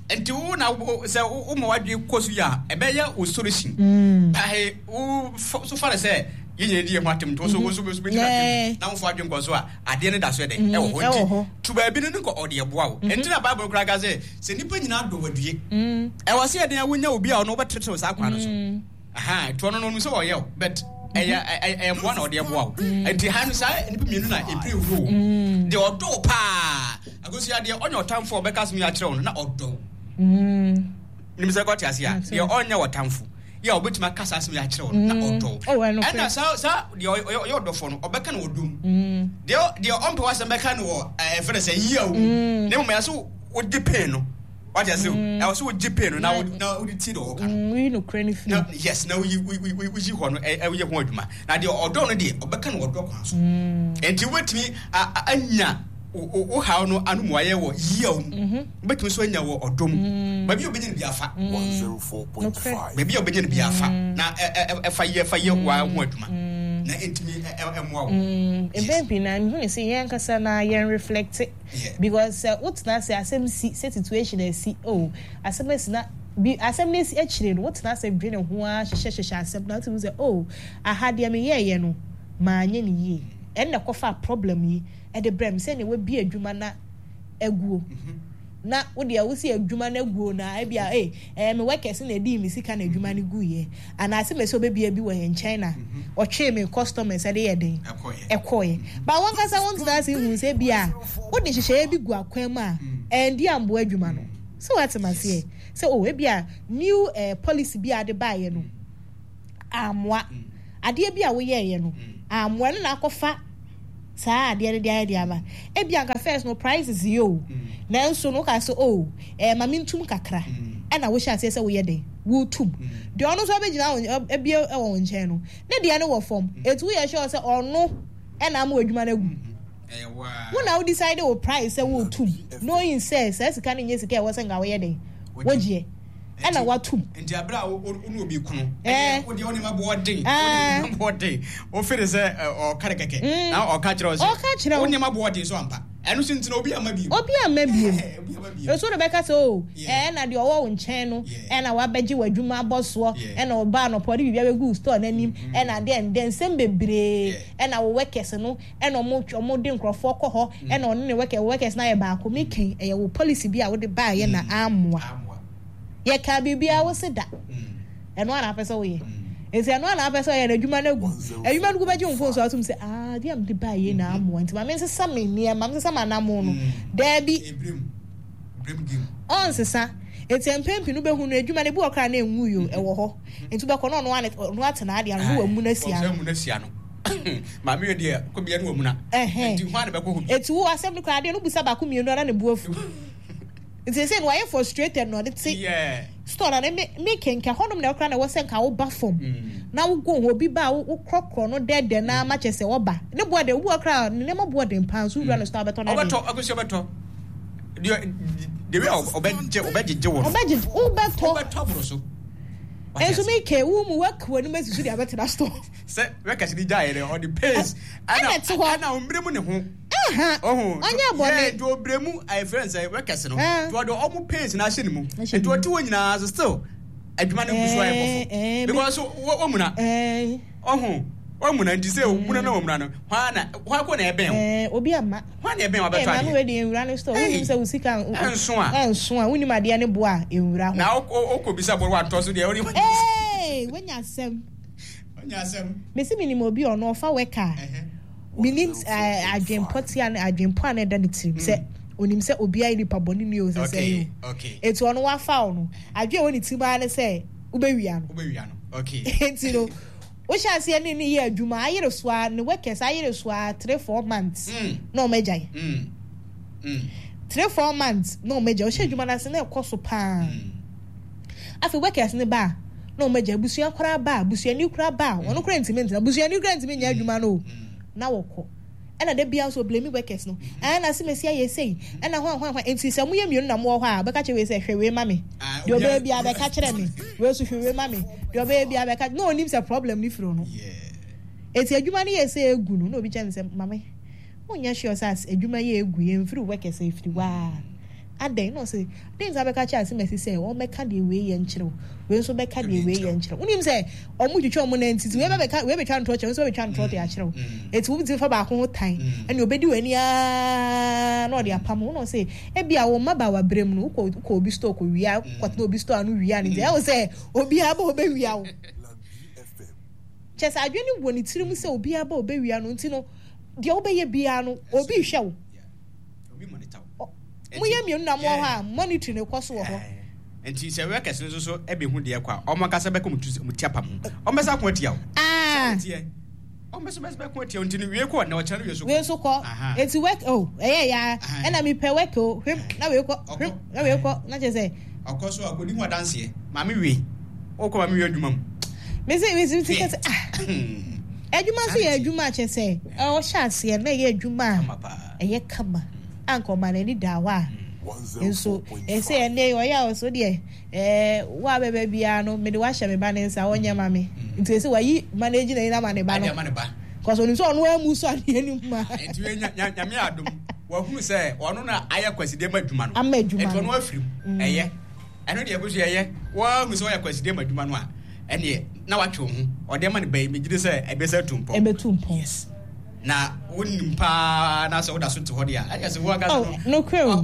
Nti wo na sɛ woma w'adwene kɔ so yi a, ɛbɛyɛ wo solution. Pahe, wo so fa no sɛ yɛn nyinaa di yɛn ho atem nti wo so wo so bɛtumi atem na womfa w'adwene nkɔ so a, adeɛ no da so yɛ dɛn? Ɛwɔ hɔ. Nti to baabi no ne nkɔ ɔde ɛboa wo. Nti na Bible koraa ka sɛ, Sɛ nnipa nyinaa dɔ wo adue. Ɛwɔ sɛ yɛden a wonya obi a ɔno wobɛtetew saa kwan no so. Aha, nti ɔno no ɔno sɛ ɔyɛ o, but ɛyɛ ɛyɛ mmoa na ɔde ɛboa wo. Nti ha no saa nnipa mmienu na epire wuro wo. Deɛ ɔdɔ wo paa, akosua deɛ ɔnyɛ ɔtamfo a ɔbɛka asɛm yi akyerɛ wo no na ɔdɔ wo. Nim sɛ kɔte ase a, deɛ ɔnyɛ ɔtamfo yɛ a ɔbɛtumi aka saa asɛm yi akyerɛ wo no na ɔdɔ wo. Ɛna saa saa deɛ ɔyɛ ɔdɔfoɔ no ɔbɛka no ɔdɔ mu. Deɛ deɛ ɔmpɛ w'asɛm bɛka no wɔ ɛfɛ no sɛ yia wo mu. Na mmom ɛyɛ so wogye pain no wate ase o mm. ɛwɔ sɛ wogye pain no na na wode tie deɛ ɔka no mm, woyi nokorɛ no firi na yes na woyi woyi hɔ no ɛyɛ ho adwuma na deɛ ɔdɔ no deɛ ɔbɛka no ɔdɔ kwan so mm. nti wobɛtumi anya wo haw no ano mu ayɛ wɔ yiaw mu mhm. wobɛtumi nso anya wɔ ɔdɔ mu baabi a wobɛnya no bi afa baabi a wobɛnya no bi afa na ɛfa yɛ fa yɛ wa ho adwuma na ɛntumi ɛmmoa wo. Mpɛn pii na mehu ne sɛ yɛn ankasa na yɛn reflect Because sɛ wo tena ase asɛm si sɛ situation asi oh asɛm asi na bi asɛm no asi akyire no wo tena ase dwene ho ara hyehyɛ hyehyɛ asɛm no wotumi sɛ oh aha deɛ me yɛɛyɛ no maanyɛ no yie ɛnna ɛkɔfaa problem yi ɛde brɛ me sɛnea wabie adwuma na aguo na wo deɛ wo si adwuma no aguo na ebi a ee ɛyɛ me workers na edii me sika na adwuma no guiɛ anaasɛ mɛ sɛ ɔbɛbia bi wɔ yɛn nkyɛn na ɔtwee me customers ɛde yɛ den ɛkɔeɛ ba wɔn kasa wɔn tena ase hu sɛ bi a wode nhyehyɛeɛ bi gu akwan mu a ɛndi amboa adwuma no sɛ wate ma seɛ sɛ o ebi a new eh, policy bi a ade baeɛ no amoa adeɛ bi a woyɛeɛ no amoa no na akɔfa. saa adeɛ no de ayɛ de aba. Ebi anka first no prices yɛ o, nanso no woka sɛ oh ɛɛ ma mentum kakra, ɛna wohyɛ aseɛ sɛ woyɛ dɛn wotum. Deɛ ɔno nso abɛgyina wo abie wɔ wo nkyɛn no, ne deɛ no wɔ fam, eti woyɛ sure sɛ ɔno ɛna ama w'adwuma no agu. Wo na wo decide wo price sɛ wotum, knowing sɛ saa sika no nyɛ sika a ɛwɔ sɛ nka woyɛ dɛn wogyeɛ. Ɛna watum. Nti abere a wo ne obi kono, ɛyɛ wo deɛ wo nneɛma bɔ ɔden, wo nneɛma bɔ ɔden, wo fere sɛ ɔka ne kɛkɛ, na ɔka kyerɛ wo sɛ wo nneɛma bɔ ɔden so ampa. Ɛno so nti na obi amma biem. Obi amma biem. Nso de bɛka sɛ o, ɛna deɛ ɔwɔ wo nkyɛn no, ɛna wabɛgye w'adwuma abɔ soɔ, ɛna ɔbaa anɔpa ɔde biribi abɛgu store n'anim, ɛna adeɛ ndɛ nsɛm bebree, ɛna wo workers no, ɛna ɔmo ɔmo de nkorɔfoɔ kɔ hɔ, ɛna ɔne ne workers, wo workers no ayɛ baako. Me kɛn, ɛyɛ wo policy bi a wode baayɛ na ammoa. Yɛkaa biribiara wo se da. Ɛno ara na apɛ sɛ woyɛ. Nti ɛno ara na apɛ sɛ ɔyɛ na adwuma no agu. Adwuma no gu bɛgye wo phone so atom sɛ ah adeɛ a mede baayɛ yi na ammoa nti ma mensesa me nneɛma, mensesa m'anamon no. Daabi. Ɔnsesa. Nti mpɛn pii no wobɛhu no adwuma no ebi wɔ koraa na ɛnwui o, ɛwɔ hɔ. Nti wobɛkɔ na ɔno ara ɔno atena adeɛ ano na wamuna asi ano. Wamuna asi ano. Maame yɛ deɛ kɔ bia no wamuna. Nti hwan na bɛkɔ hɔ bi? Nti wo asɛm no koraa adeɛ no wobisa baako mmienu a na ne bo afu. Nti sɛ no wayɛ frustrated na ɔde te store na ne me kenka hɔnom na ɛkora na ɛwɔ sɛ nka woba fam mm. na wogo ho obi ba a wokorɔkorɔ no dɛdɛ na ama kyɛ sɛ ɔba ne boɔ de obi wɔ kora ne nneɛma boɔ den paa nso wura no store abɛtɔ no ɔbɛtɔ akosi ɔbɛtɔ deɛ deɛ ɔbɛgye ɔbɛgyegye wɔ no ɔbɛgye wobɛtɔ wobɛtɔ aboro so nso mi ke wo mu waka w'anim asi so de abɛtena store sɛ wɛkɛse ne gya yɛ dɛ ɔde pace ɛna ɛte hɔ ɛna ɔmmerɛ mu ne ho Aha, ɔnyɛ bɔne. Nti ɔbrɛ mu ɛfrɛ no sɛ workers no. Nti ɔde ɔmo pains no ahyɛ ne mu. Nti ɔte hɔ nyinaa so still adwuma no gu so ayɛ bɔfo. Because wɔmuna. Ɔho wɔmuna nti sɛ wɔmuna na wɔmuna no hwan na hwan ko na ɛbɛn wo. Obi ama. Hwan na ɛbɛn wo abɛtɔ adeɛ. Maame wei deɛ nwura no store. Wonim sɛ wo sika ɛnso a. Ɛnso a wonim adeɛ ne bo a nwura hɔ. Na wokɔ bisa bɔ wantɔ so deɛ. Ee wanya asɛm. Wanya asɛm. Mesi menim obi ɔno ɔfa worker a. Menim adwenpɔ tia ne adwenpɔ a na ɛda ne tirim sɛ mm. onim sɛ obiara yɛ nipa bɔne ni o sɛ sɛ yi o. Eti ɔno wafa wo no adwen a ɛwɔ ne tirim ara ne sɛ wobɛwia no. Wobɛwia no. Okay. Eti no wohyɛ aseɛ ne ne yɛ adwuma ayere so a ne workers ayere so a 3-4 months mm. na wɔn agyae. Mm. 3-4 months na wɔn agyae. Wohyɛ adwuma no ase na ɛkɔ so paa. Afei workers no ba a, na wɔn agya abusua koraa ba a, busuani koraa ba a, wɔn koraa ntumi ntena, busuani koraa ntumi nyɛ adwuma no o, na wɔkɔ. Ɛna da biara nso ɔblame workers no, ɛɛ na asemesi ayɛ sei, ɛna hwan hwan hwan, nti sɛ moyɛ mmienu na mowɔ hɔ a, ɔbɛka kyerɛ wei sɛ hwɛ wei ma me, deɛ ɔbɛyɛ biara bɛka kyerɛ me, wei nso hwɛ wei ma me, deɛ ɔbɛyɛ biara bɛka, na ɔnim sɛ problem no firi ɔno. Eti adwuma no yɛ sɛ egu no, na obi kyerɛ no sɛ, mame, Wonyɛ sure sɛ adwuma yi a egu yi ɛmfiri wo kɛse ɛfiri wo ara? Adɛn? Na ɔse, dɛn nti na wobɛka akyerɛ Asimasi sɛ ɔmmɛka deɛ wei yɛ nkyerɛ wo, wei nso bɛka deɛ wei yɛ nkyerɛ wo? Wonim sɛ ɔmo twitwa ɔmo nan nti, wei bɛbɛka, wei bɛtwa ntorɔ kyerɛ wo, nso bɛtwa ntorɔ de akyerɛ wo. Eti wotumi fa baako ho tan, ɛnna obedi w'ani ara na ɔde apam wo. Na ɔse, ebia wo mmabaawa berɛ mu no, wokɔ wokɔ obi store kɔwia, wokɔtena obi store ano wia no nti, ɛyɛ wo sɛ obiara ba ɔbɛwia wo. Kyerɛ sɛ adwene no wɔ ne tirim sɛ obiara ba ɔbɛwia no nti no, deɛ wobɛyɛ biara no, obi rehwɛ wo. Moyɛ mmienu na mowɔ hɔ a, monitoring no kɔ so wɔ hɔ. Nti sɛ workers no nso so bɛhu deɛ kɔ a, wɔn ankasa bɛka wɔn ti apam ho. Wɔn bɛsa ako atia wo. Ah. Wɔn bɛsa bɛko atia wo nti no wie kɔ na ɔkyerɛ no wie so kɔ. Wie so kɔ. Eti work oh ɛyɛ ya ɛna mepɛ work o hwem na wei kɔ hwem na wei kɔ na kyerɛ sɛ. Ɔkɔ so a kɔdi ho adanseɛ. Maame wie. Wokɔ maame wie adwuma mu. Mese mese mese kɛsɛ ah. Adwuma nso yɛ adwuma kyɛ sɛ ɔhyɛ aseɛ na ɛyɛ adwuma a ɛyɛ kama anka ɔma n'ani da hɔ a nso ɛsɛ ɛnɛ ɔyɛ a ɔso deɛ ɛɛ wo a bɛbɛ biara no mede wahyɛ me ba ne nsa ɔnyɛ ma me nti ɛsɛ wayi manage n'ani ama ne ba no kɔsɔ onim sɛ ɔno amu so adeɛ no mu a. Nti nyame adom wahunu sɛ ɔno na ayɛ kwasideɛ ma adwuma no ama adwuma no nti ɔno afiri mu ɛyɛ. Ɛno deɛ ɛgu so yɛyɛ. Woahu sɛ woyɛ akwansideɛ ma adwuma no a, ɛneɛ na watwe wo ho. Ɔde ama no ba yi, megye di sɛ ɛbɛsa atu mpɔn. Ɛbɛtu mpɔn. Yes. Na wonim paa na sɛ woda so te hɔ deɛ a, ɛneɛ sɛ wo ankasa no. Oh, nokorɛ o.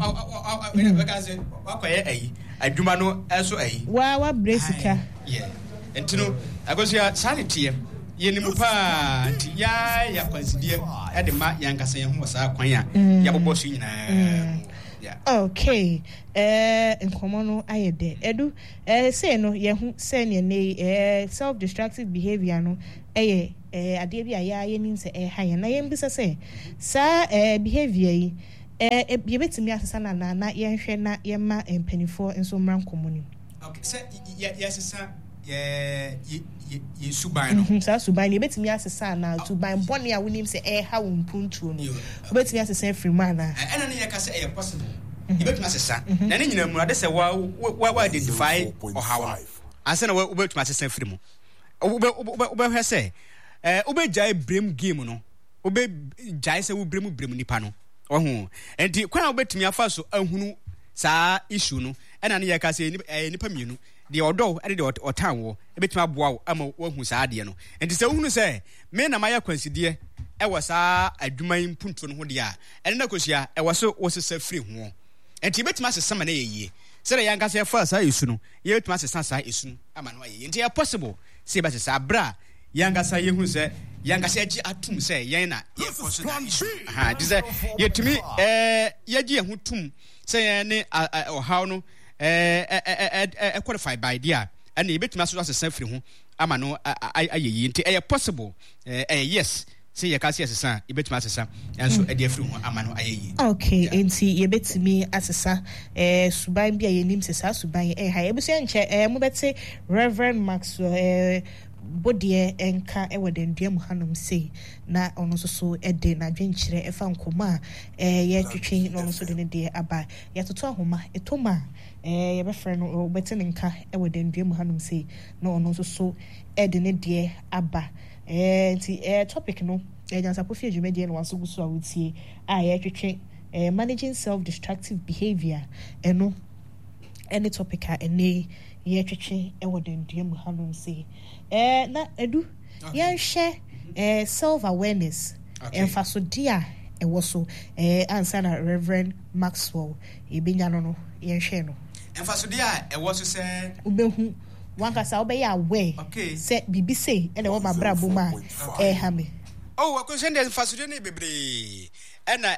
Bɛka sɛ wakɔyɛ ayi, adwuma no ɛso ayi. Waa wabrɛ sika. Yeah. Nti no, Akosua, saa ne teɛ. Yɛnim paa nti yɛayɛ akwansideɛ ɛde ma yɛn ankasa yɛn ho wɔ saa kwan a yɛabobɔ so nyinaa mu. Yeah. Okay. Eh, nkɔmmɔ no ayɛ dɛ. Edu, eh, sei no, yɛhu sɛnea nnɛ yi, eh, self-destructive behavior no yɛ. ɛɛ adeɛ bi a yɛa yɛnim sɛ ɛha yɛn na yɛmbisa sɛ saa ɛɛ behavior yi ɛɛ yɛbɛtumi asesa no anaa na yɛnhwɛ na yɛmma mpanimfoɔ nso mmra nkɔmmɔ no mu. Okay, sɛ yɛ yɛsesa yɛ yɛ yɛ suban no. Mhm, saa suban no yɛbɛtumi asesa anaa suban bɔne a wonim sɛ ɛreha wo mpuntuo no wobɛtumi asesa afiri mu anaa? Ɛna ne yɛka sɛ ɛyɛ possible yɛbɛtumi asesa na ne nyinaa mu ade sɛ wa wa wa identify ɔhaw no ansa na wobɛtumi asesa afiri mu. Wobɛhwɛ sɛ wobɛgyae brem game no wobɛgyae sɛ wobrem brem nipa no ɔho nti kwan a wobɛtumi afa so ahunu saa issue no ɛna ne yɛka sɛ ɛyɛ nipa mmienu deɛ ɔdɔ wo ne deɛ ɔtan woɔ ɛbɛtumi aboa wo ama woahu saa adeɛ no. Nti sɛ wohunu sɛ me na mayɛ akwansideɛ ɛwɔ saa adwuma yi mpuntuo no ho deɛ a, ɛno na kosua ɛwɔ so wosesa firi ho. Nti yɛbɛtumi asesa ma no ayɛ yie. Sɛdeɛ yɛn ankasa yɛfaa saa esu no, yɛbɛtumi asesa saa esu no ama no ayɛ yie. Nti ɛyɛ possible sɛ yɛbɛsesa berɛ a yɛn ankasa yɛhunu sɛ yɛn ankasa yɛgye atum sɛ yɛn na yɛkɔ so na esu. Aha, nti sɛ yɛtumi ɛɛ yɛgye yɛn ho tum sɛ yɛn ne ɔhaw no ɛɛ qualify by deɛ a, ɛna yɛbɛtumi aso asesa firi ho ama no ayɛ yie. Nti ɛyɛ possible, ɛyɛ yes sɛ yɛka sɛ yɛsesa a, yɛbɛtumi asesa nso ɛde afiri ho ama no ayɛ yie. Okay, nti yɛbɛtumi asesa ɛɛ suban bi a yɛnim sɛ saa suban yi ɛha yɛ. Abusua nkyɛ ɛɛ mobɛte Reverend Maxwell ɛɛ Bodeɛ nka wɔ Dandua mu hanom sei na ɔno nso so de n'adwenkyerɛ ɛfa nkɔmmɔ a ɛɛ yɛtwetwe na ɔno nso de ne deɛ aba. Yɛatoto ahoma, ɛtɔ mu a ɛɛ yɛbɛfrɛ no, wobɛte ne nka wɔ Dandua mu hanom sei na ɔno nso so de ne deɛ aba. Ɛɛ nti ɛɛ topic no ɛɛ Nyansapɔ Fie dwumadie na waso gu so a wotie a yɛretwetwe ɛɛ managing self-destructive behaviour ɛno ɛne topic a ɛnɛ yi yɛretwetwe wɔ Dandua mu hanom sei. Ɛɛ na Adu yɛnhwɛ ɛɛ self awareness mfasodeɛ a ɛwɔ so ɛɛ ansa na Reverend Maxwell yɛbɛnya no no yɛnhwɛ no. Mfasodeɛ a ɛwɔ so sɛ. Wobɛhu wankasa wobɛyɛ aware sɛ biribi sei ɛna ɛwɔ m'abrabɔ mu a ɛreha me. Oh, akosua deɛ mfasodeɛ no yɛ bebree ɛna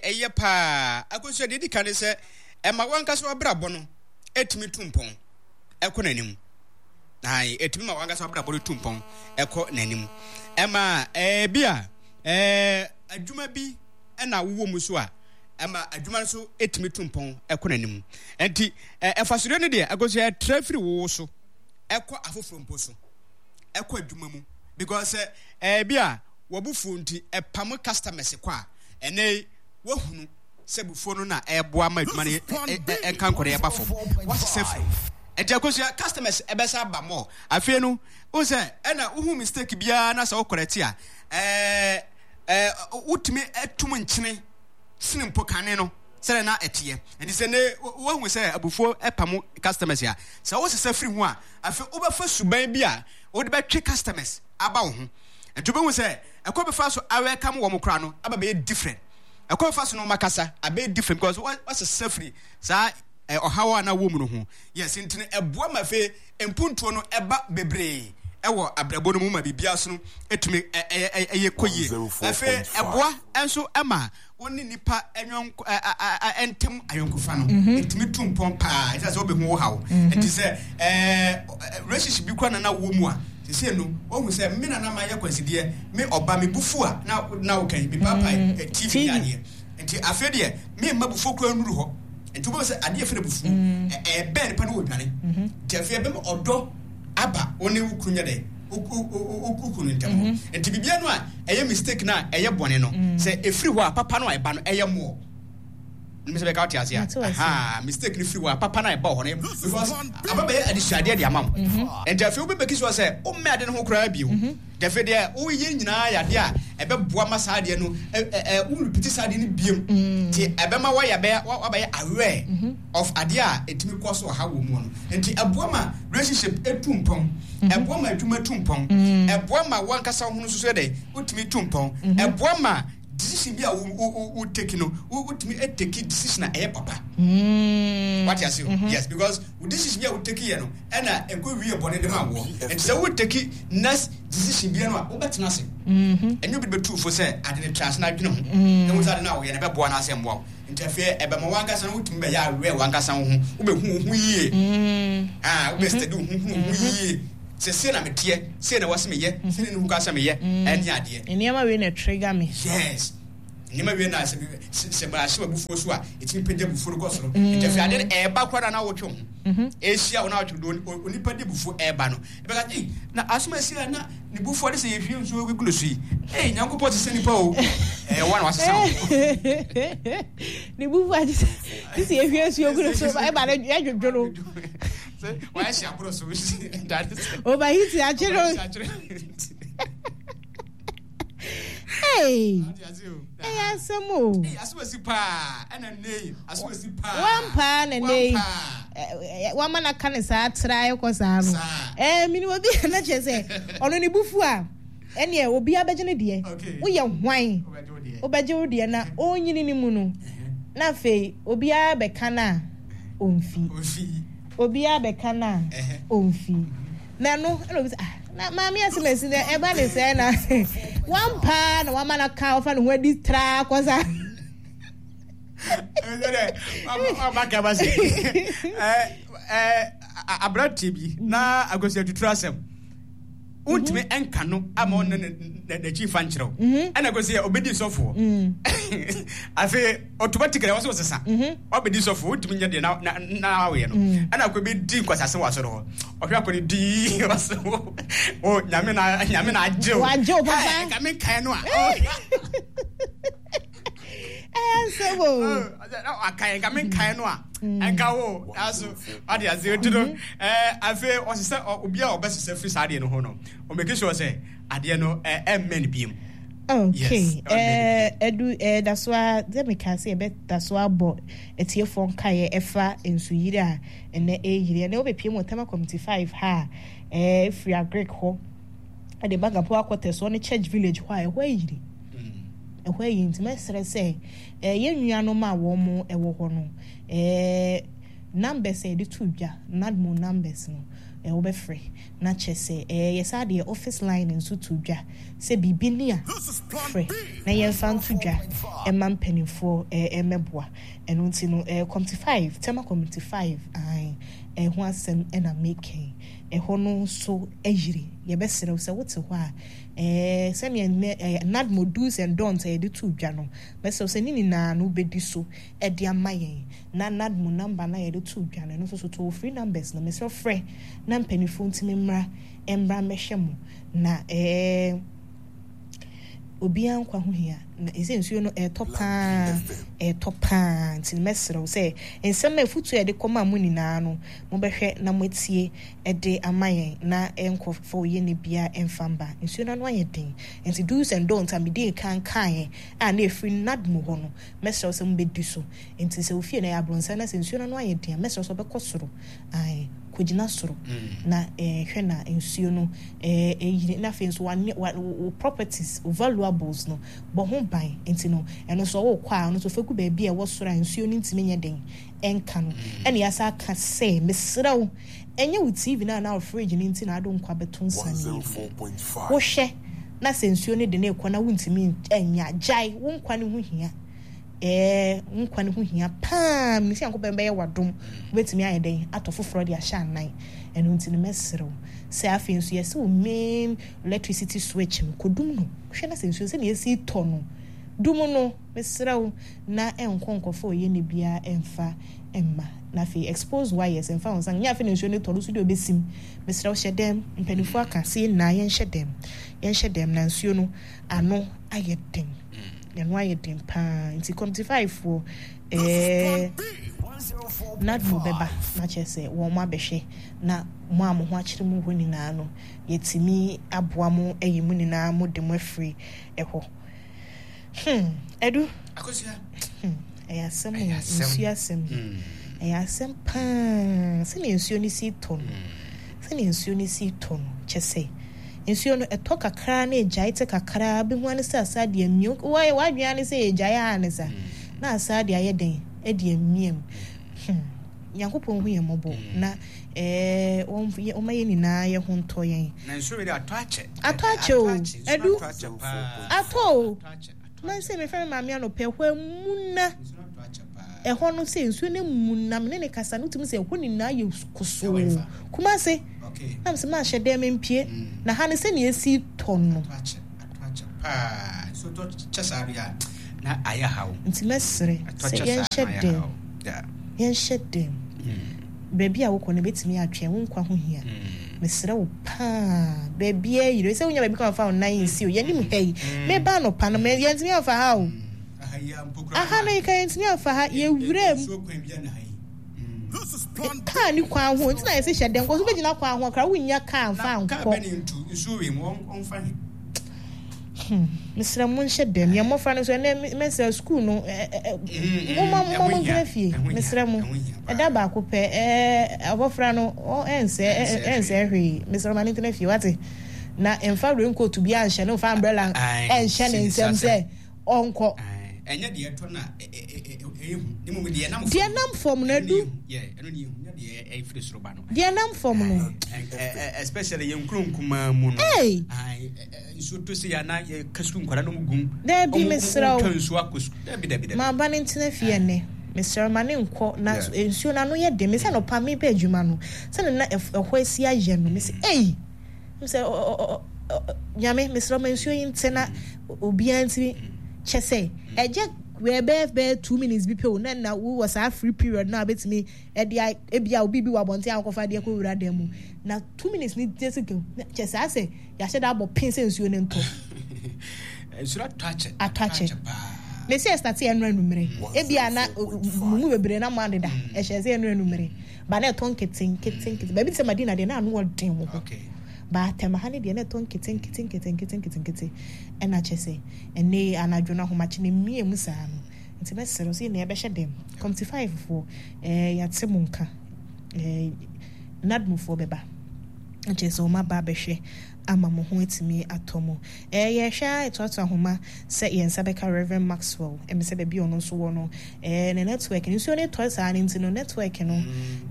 ɛyɛ paa. Akosua deɛ ɛdi kan ne sɛ ɛma wankasa w'abrabɔ no ɛtumi tu mpɔn ɛkɔ n'anim. Ae, ɛtumi ma wankasa w'abrabɔ no tu mpɔn ɛkɔ n'anim. Ɛma ɛbi a ɛɛ adwuma bi ɛna wowɔ mu so a ɛma adwuma no so ɛtumi tu mpɔn ɛkɔ n'anim. Ɛnti ɛfasodeɛ no deɛ akosua ɛtrɛ firi wo so ɛkɔ afoforɔ mpo so ɛkɔ adwuma mu because sɛ ɛbi a wabufuo nti ɛpam customers kɔ a ɛnɛ yi wahunu sɛ bufuo no na ɛboa ma adwuma no ɛnka nkɔ no ɛba fam wasesa firi ɛnti akosua customers ɛbɛsa aba mɔ afei no wohu sɛ ɛna wohu mistake biara na sɛ wo correct a ɛɛ ɛɛ wotumi atum nkyene sene mpo kane no sɛdeɛ na ɛteɛ nti sɛ ne woahu sɛ abufuo ɛpam customers a sɛ wosesa firi ho a afei wobɛfa suban bi a wode bɛtwe customers aba wo ho nti wobɛhu sɛ ɛkɔ bɛfa so awɛkam wɔn koraa no aba bɛyɛ different ɛkɔ bɛfa so no wɔn akasa abɛyɛ different because wasesa firi saa ɔhaw a na wɔ mu no ho yes nti no ɛboa ma afei mpuntuo no ɛba bebree ɛwɔ abrabɔ no mu ma biribiara so no ɛtumi ɛyɛ kɔ yie afei ɛboa nso ɛma wo ne nipa ɛnyɔnko ɛntɛm ayɔnkofa no ɛtumi mhm. tu mpɔn paa ɛsɛ sɛ wobɛhu wo haw mhm. ɛnti sɛ ɛɛ relationship bi kora nana wɔ mu a sese no wohu sɛ me nana ma yɛ kwansideɛ me ɔba me bufu a na na wokan me paapae mhm. tv ne adeɛ nti afei deɛ me mma bufuo kora nnuru hɔ nti wobɛhu sɛ adeɛ fɛ no bufuo ɛbɛn nipa no wɔ dwane nti afei ɛbɛma ɔdɔ aba wo ne wo kunu nyɛ dɛ wo kunu ntam hɔ mhm. nti biribiara no a ɛyɛ mistake no a ɛyɛ bɔne no mm. sɛ ɛfiri hɔ a papa no a ɛba no ɛyɛ mmoɔ nim sɛ bɛka wote ase a mistake no firi hɔ a papa no a ɛba hɔ no because aba bɛyɛ adesuadeɛ de ama wo mhm. nti afei wobɛbɛki soɔ sɛ wommɛ ade no ho koraa bio mhm. nti afei deɛ woyɛ nyinaa yɛ adeɛ a ɛbɛboa ma saa adeɛ no worepiti saa adeɛ no biom mm. nti ɛbɛma woayɛ wabɛyɛ aware of adeɛ a ɛtumi kɔ so ɔhaw wɔ mu no nti ɛboa ma relationship ɛtu mpɔn mhm. ɛboa ma adwuma tu mpɔn mhm. ɛboa ma wankasa ho no nso so dɛ wotumi tu mpɔn mhm. ɛboa ma decision bi a wo wo take no wotumi take decision a ɛyɛ papa mm. wate ase o yes because wo decision bi a wo take yɛ no ɛna ɛkɔ wie bɔne de ma woɔ nti sɛ wo take next decision bi no a wobɛtena ase ɛnyɛ obi bɛtu fo sɛ ade no tra ase na adwene ho na wo sɛ ade no a woyɛ no ɛbɛboa no asɛ mmoa wo Nti afei ɛbɛma w'ankasa no wotumi bɛyɛ aware w'ankasa wo ho, wobɛhu wo ho yie. Mm. Ah, wobɛ mm-hmm. study wo ho, hu wo ho mm-hmm. yie. Sɛ sei na meteɛ, sei na ɛwɔ sɛ meyɛ, sei na ɛni ho kwan sɛ meyɛ, ɛne adeɛ. Nneɛma wei na trigger me. Yes. Nneɛma wei na sɛ sɛ mahyɛ w'abufuo so a, ɛtumi pagya abufuo no kɔ soro. Nti afei adeɛ no ɛreba koraa na wotwe wo ho. Ɛhyia wo na wotwe do onipa de abufuo ɛreba no. Ɛbɛka ei na asɛm asi a na ne bufuo de sɛ yɛhwie nsuo gu no so yi. Ei Nyankopɔn te sɛ nipa o. Ɛyɛ wa na wasesa wo. Ne bufuo agye sɛ sɛ yɛhwie nsuo gu no so ɛba no yɛdwodwo no. Wayɛ hyɛ aboro so. Overheat akye no. Hey, ɛyɛ asɛm o. Asomasi paa ɛna nne yi asomasi paa. Wampaa na nne yi wama na ka ne saa tra ɛkɔ saa no. Ɛɛ mini obi a na kyerɛ sɛ ɔno ne bufu a ɛneɛ obi abɛgye ne deɛ. Woyɛ hwan? Wobɛgye wo deɛ na ɔnyini ne mu no. Na afei obiara bɛka no a ɔmfi. Obiara bɛka no a ɔmfi. Na ɛno ɛna obi sɛ ah na maame asemasi na ɛba ne sɛ na wampaa na wama no ka ɔfa ne ho adi traa kɔ saa. Aberanteɛ bi na agosi atuturu asɛm wontumi mhm. nka no ama ɔne n'akyi fa nkyerɛ wo mhm. ɛna kɔsi yɛ ɔbɛdi sɔfoɔ mm. afei automatically wɔ sɛ ɔsesa mhm. wabɛdi sɔfoɔ wontumi nyɛ deɛ na woyɛ no mm. ɛna kɔ bɛdi nkwasase wɔ asɔre hɔ ɔhwɛ akɔ ne dii ɔsɛ o nyame na nyame na agye wo wagye wo papa nka me nkae no a ɛyɛ nsɛm o akae nka me nkae no a ɛnka wo aso ɔde ase nti no afei ɔsesɛ obi a ɔbɛsesɛ firi saa adeɛ no ho no ɔmɛki sure sɛ adeɛ no ɛmmɛn biem. Okay, ɛdu ɛda so a sɛ meka sɛ yɛbɛda so abɔ atiefoɔ nkaeɛ ɛfa nsuyiri a ɛnɛ ɛyiri ɛnɛ wobɛpie mu wɔ Tema Community 5 ha a ɛfiri Agric hɔ ɛde ba Gapo akɔtɛ soɔ ne Church Village hɔ a ɛhɔ ayiri ɛhɔ ayiri nti mɛsrɛ sɛ yɛn nuanom a wɔn ɛwɔ hɔ no numbers a yɛde to dwa NADMO numbers no wobɛfrɛ na kyerɛ sɛ yɛ saa deɛ office line nso to dwa sɛ biribi ni a frɛ na yɛmfa nto dwa ɛma mpanimfoɔ ɛmɛboa ɛno nti no committee 5 Tema committee 5 ae ɛho asɛm ɛna mekɛn ɛhɔ no nso ayiri yɛbɛsrɛ wo sɛ wote hɔ a sɛnea nnɛ NADMO do's and don'ts a yɛde to dwa no mɛsrɛ wo sɛ ne nyinaa no wobɛdi so ɛde ama yɛn na NADMO number no a yɛde too dwa no, ɛno nso so toll free numbers no, mesrɛ frɛ na mpanimfoɔ ntumi mmra mmra mmɛhwɛ mo na ɛɛ obiara nkwa ho hia na ɛsɛ nsuo no ɛretɔ paa ɛretɔ paa nti mɛsrɛ wo sɛ nsɛm a afutuo a yɛde kɔma mo nyinaa no mobɛhwɛ na moatie ɛde ama yɛn na ɛnkɔfa oyɛ ne biara ɛmfa mba nsuo no ano ayɛ den nti do's and don'ts a mede kan kaeɛ a na ɛfiri NADMO hɔ no mɛsrɛ wo sɛ mobɛdi so. Enti sɛ wo fie no ɛyɛ abrɔnsan na sɛ nsuo no ano ayɛ den a, mɛsrɛ wo sɛ wobɛkɔ soro. Ae, kɔgyina soro na eh, hwɛ na nsuo no eh, ɛyiri. Na afei nso wane, wa, wo properties, wo valuables no, bɔ ho ban. Enti no, ɛno nso wokɔ a, ɔno nso fa gu baabi a ɛwɔ soro a nsuo no ntumi nyɛ den ɛnka no. Ɛna yɛasa aka sɛ, mesrɛ wo, ɛnyɛ wo TV no anaa wo fridge no nti na ade wo nkwa bɛto nsa no yie. Wohwɛ na sɛ nsuo no de no rekɔ na wontumi nyɛ a, gyae, wo nkwa no ho hia. Ɛɛ, wo nkwa no ho hia paa. Menim sɛ Nyankopɔn bɛyɛ w'adom. Wobɛtumi ayɛ dɛn atɔ foforɔ de ahyɛ anan. Ɛno nti no, mɛsrɛ wo sɛ afei nso yɛsɛ wo main electricity switch no, kɔdum no. Hwɛ na sɛ nsuo sɛdeɛ ɛsi tɔ no, dum no. Mesrɛ wo na ɛnkɔ nkɔfa oyɛni biara ɛmfa mma. Na afei expose wires, mfa wo nsa nyɛ afei na nsuo no tɔ no so deɛ ɔbɛsim. Mesrɛ wo hyɛ dɛm. Mpanimfoɔ aka sɛ yɛn nyinaa yɛnhyɛ dɛm. Yɛnhyɛ dɛm na nsuo no ano ayɛ den. Ɛno ayɛ den paa nti committee five foɔ ɛɛ NADMO bɛba na kyerɛ sɛ wɔn abɛhwɛ na mo a mo ho akyere mo hɔ nyinaa no yɛtumi aboa mo ayi mo nyinaa mo de mo afiri ɛhɔ. Hmm, Edu. Akosua. Hmm, ɛyɛ asɛm o, nsuo asɛm. Ɛyɛ asɛm paa sɛnea nsuo no si tɔ no. Sɛnea nsuo no si tɔ no, kyɛ sɛ nsuo no ɛtɔ kakra na egyae te kakra bi ho ara ne sɛ asa de amia wayɛ w'adwene ara ne sɛ egyae ara ne sa na asa de ayɛ dɛn de amia mu. Hmm, Nyankopɔn hu yɛn mmɔbɔ na ɛɛ wɔma yɛn nyinaa yɛ ho ntɔ yɛn. Na nsuo wei de atɔ akyɛ. Atɔ akyɛ o, Adu. Atɔ o. Man sɛ mefrɛ me maame anɔpɛ hɔ amuna. Ɛhɔ no sɛ nsuo no mu nam ne ne kasa no wotumi sɛ ɛhɔ nyinaa yɛ kosoo. Kumase. Na mesɛ mahyɛ dɛm mpie. Mm. Na ha no sɛnea esi tɔ no. Nti mɛsrɛ sɛ yɛnhyɛ dɛm. Yɛnhyɛ dɛm. Mm. Baabi a wokɔ no ebetumi atwɛn wo nkwa ho hia. Mm. Mesrɛ wo paa baabi a yire sɛ wonya baabi kɔ amfa wo nan nsi o yɛnim ha yi. Meba anɔpa no yɛntumi amfa ha o. Aha no yɛka yɛntumi amfa ha yɛwura mu. Kaa ni kwan ho nti na yɛsɛ hyɛ dɛm kɔ so bɛgyina kwan ho koraa wonnya kaa mfa nkɔ. Hmm, mesrɛ mo nhyɛ dɛm yɛn mmɔfra no nso ɛnɛ mɛsrɛ sukuu no momma mo ntena fie mesrɛ mo ɛda baako pɛ abɔfra no ɛnsɛ ɛnsɛ hwee mesrɛ ma no ntena fie wate na mfa raincoat bi anhyɛ no mfa umbrella ɛnhyɛ ne nsam sɛ ɔnkɔ. Ɛnyɛ deɛ ɛtɔ na ɛyɛ hu ne mmom deɛ ɛnam fam. Deɛ ɛnam fam no adu. Ɛno ne yɛ hu nyɛ deɛ ɛfiri soro ba no. Deɛ ɛnam fam no. Especially yɛn nkuro nkumaa mu no. Nsuo to se yɛ ana yɛka sukuu nkwadaa no mu gum. Daabi mesrɛ wo. Twa nsuo akɔ sukuu. Daabi daabi daabi. Ma ba no ntena fie ɛnɛ. Mesrɛ wo ma ne nkɔ na nsuo no ano yɛ den. Mesɛ anɔpa meba adwuma no sɛdeɛ na ɛhɔ asi ayɛ no mesɛ ei. Sɛ Nyame mesrɛ ma nsuo yi nte na obiara ntumi kyɛ sɛ ɛgye bɛyɛ bɛyɛ 2 minutes bi pɛ o, na na wowɔ saa free period na wobɛtumi ɛde ebi a obi bi wɔ abɔnten akɔfa adeɛ kɔ wura dan mu na 2 minutes ni gye sɛ kyɛ saa sɛ yɛahyɛ da abɔ pin sɛ nsuo no ntɔ. Nsuo atɔ akyɛ. Atɔ akyɛ. Mesi ɛstart ɛnu anumere ebi a na mo mu bebree na mo adeda ɛhyɛ sɛ ɛnu anumere ba na ɛtɔ nkete nkete nkete baabi te sɛ Madina deɛ na ano ɔden wɔ hɔ ba atɛm ha ne deɛ na ɛtɔ nkete nkete nkete nkete nkete nkete ɛna kyɛ sɛ ɛnɛ anadwo no ahomakye na mmie mu saa no. Nti mɛsrɛ sɛ nea ɛbɛhyɛ dɛm committee 5 foɔ yɛate mo nka, NADMO foɔ bɛba nkyɛ sɛ wɔn aba abɛhwɛ ama mo ho atumi atɔ mo. Yɛhwɛ a ɛtoatoa ahoma sɛ yɛn nsa bɛka Reverend Maxwell ɛmɛ sɛ baabi a ɔno nso wɔ no, ne network no nsuo no tɔ saa no nti no network no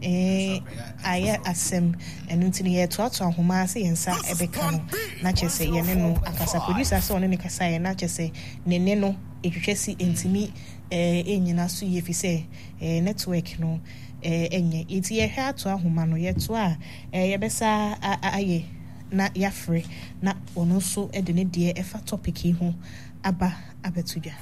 ayɛ asɛm. Ɛno nti no yɛtoatoa ahoma sɛ yɛn nsa ɛbɛka no na kyerɛ sɛ yɛne no akasa. Producer sɛ ɔne ne kasa yɛ na kyerɛ sɛ ne ne no ɛtwitwa si ntumi ɛnyina so yie fi sɛ network no ɛnyɛ. Nti yɛhwɛ ato ahoma no yɛtoa a yɛbɛsa ayɛ na yɛafrɛ na ɔno nso de ne deɛ ɛfa topic yi ho aba abɛto dwa.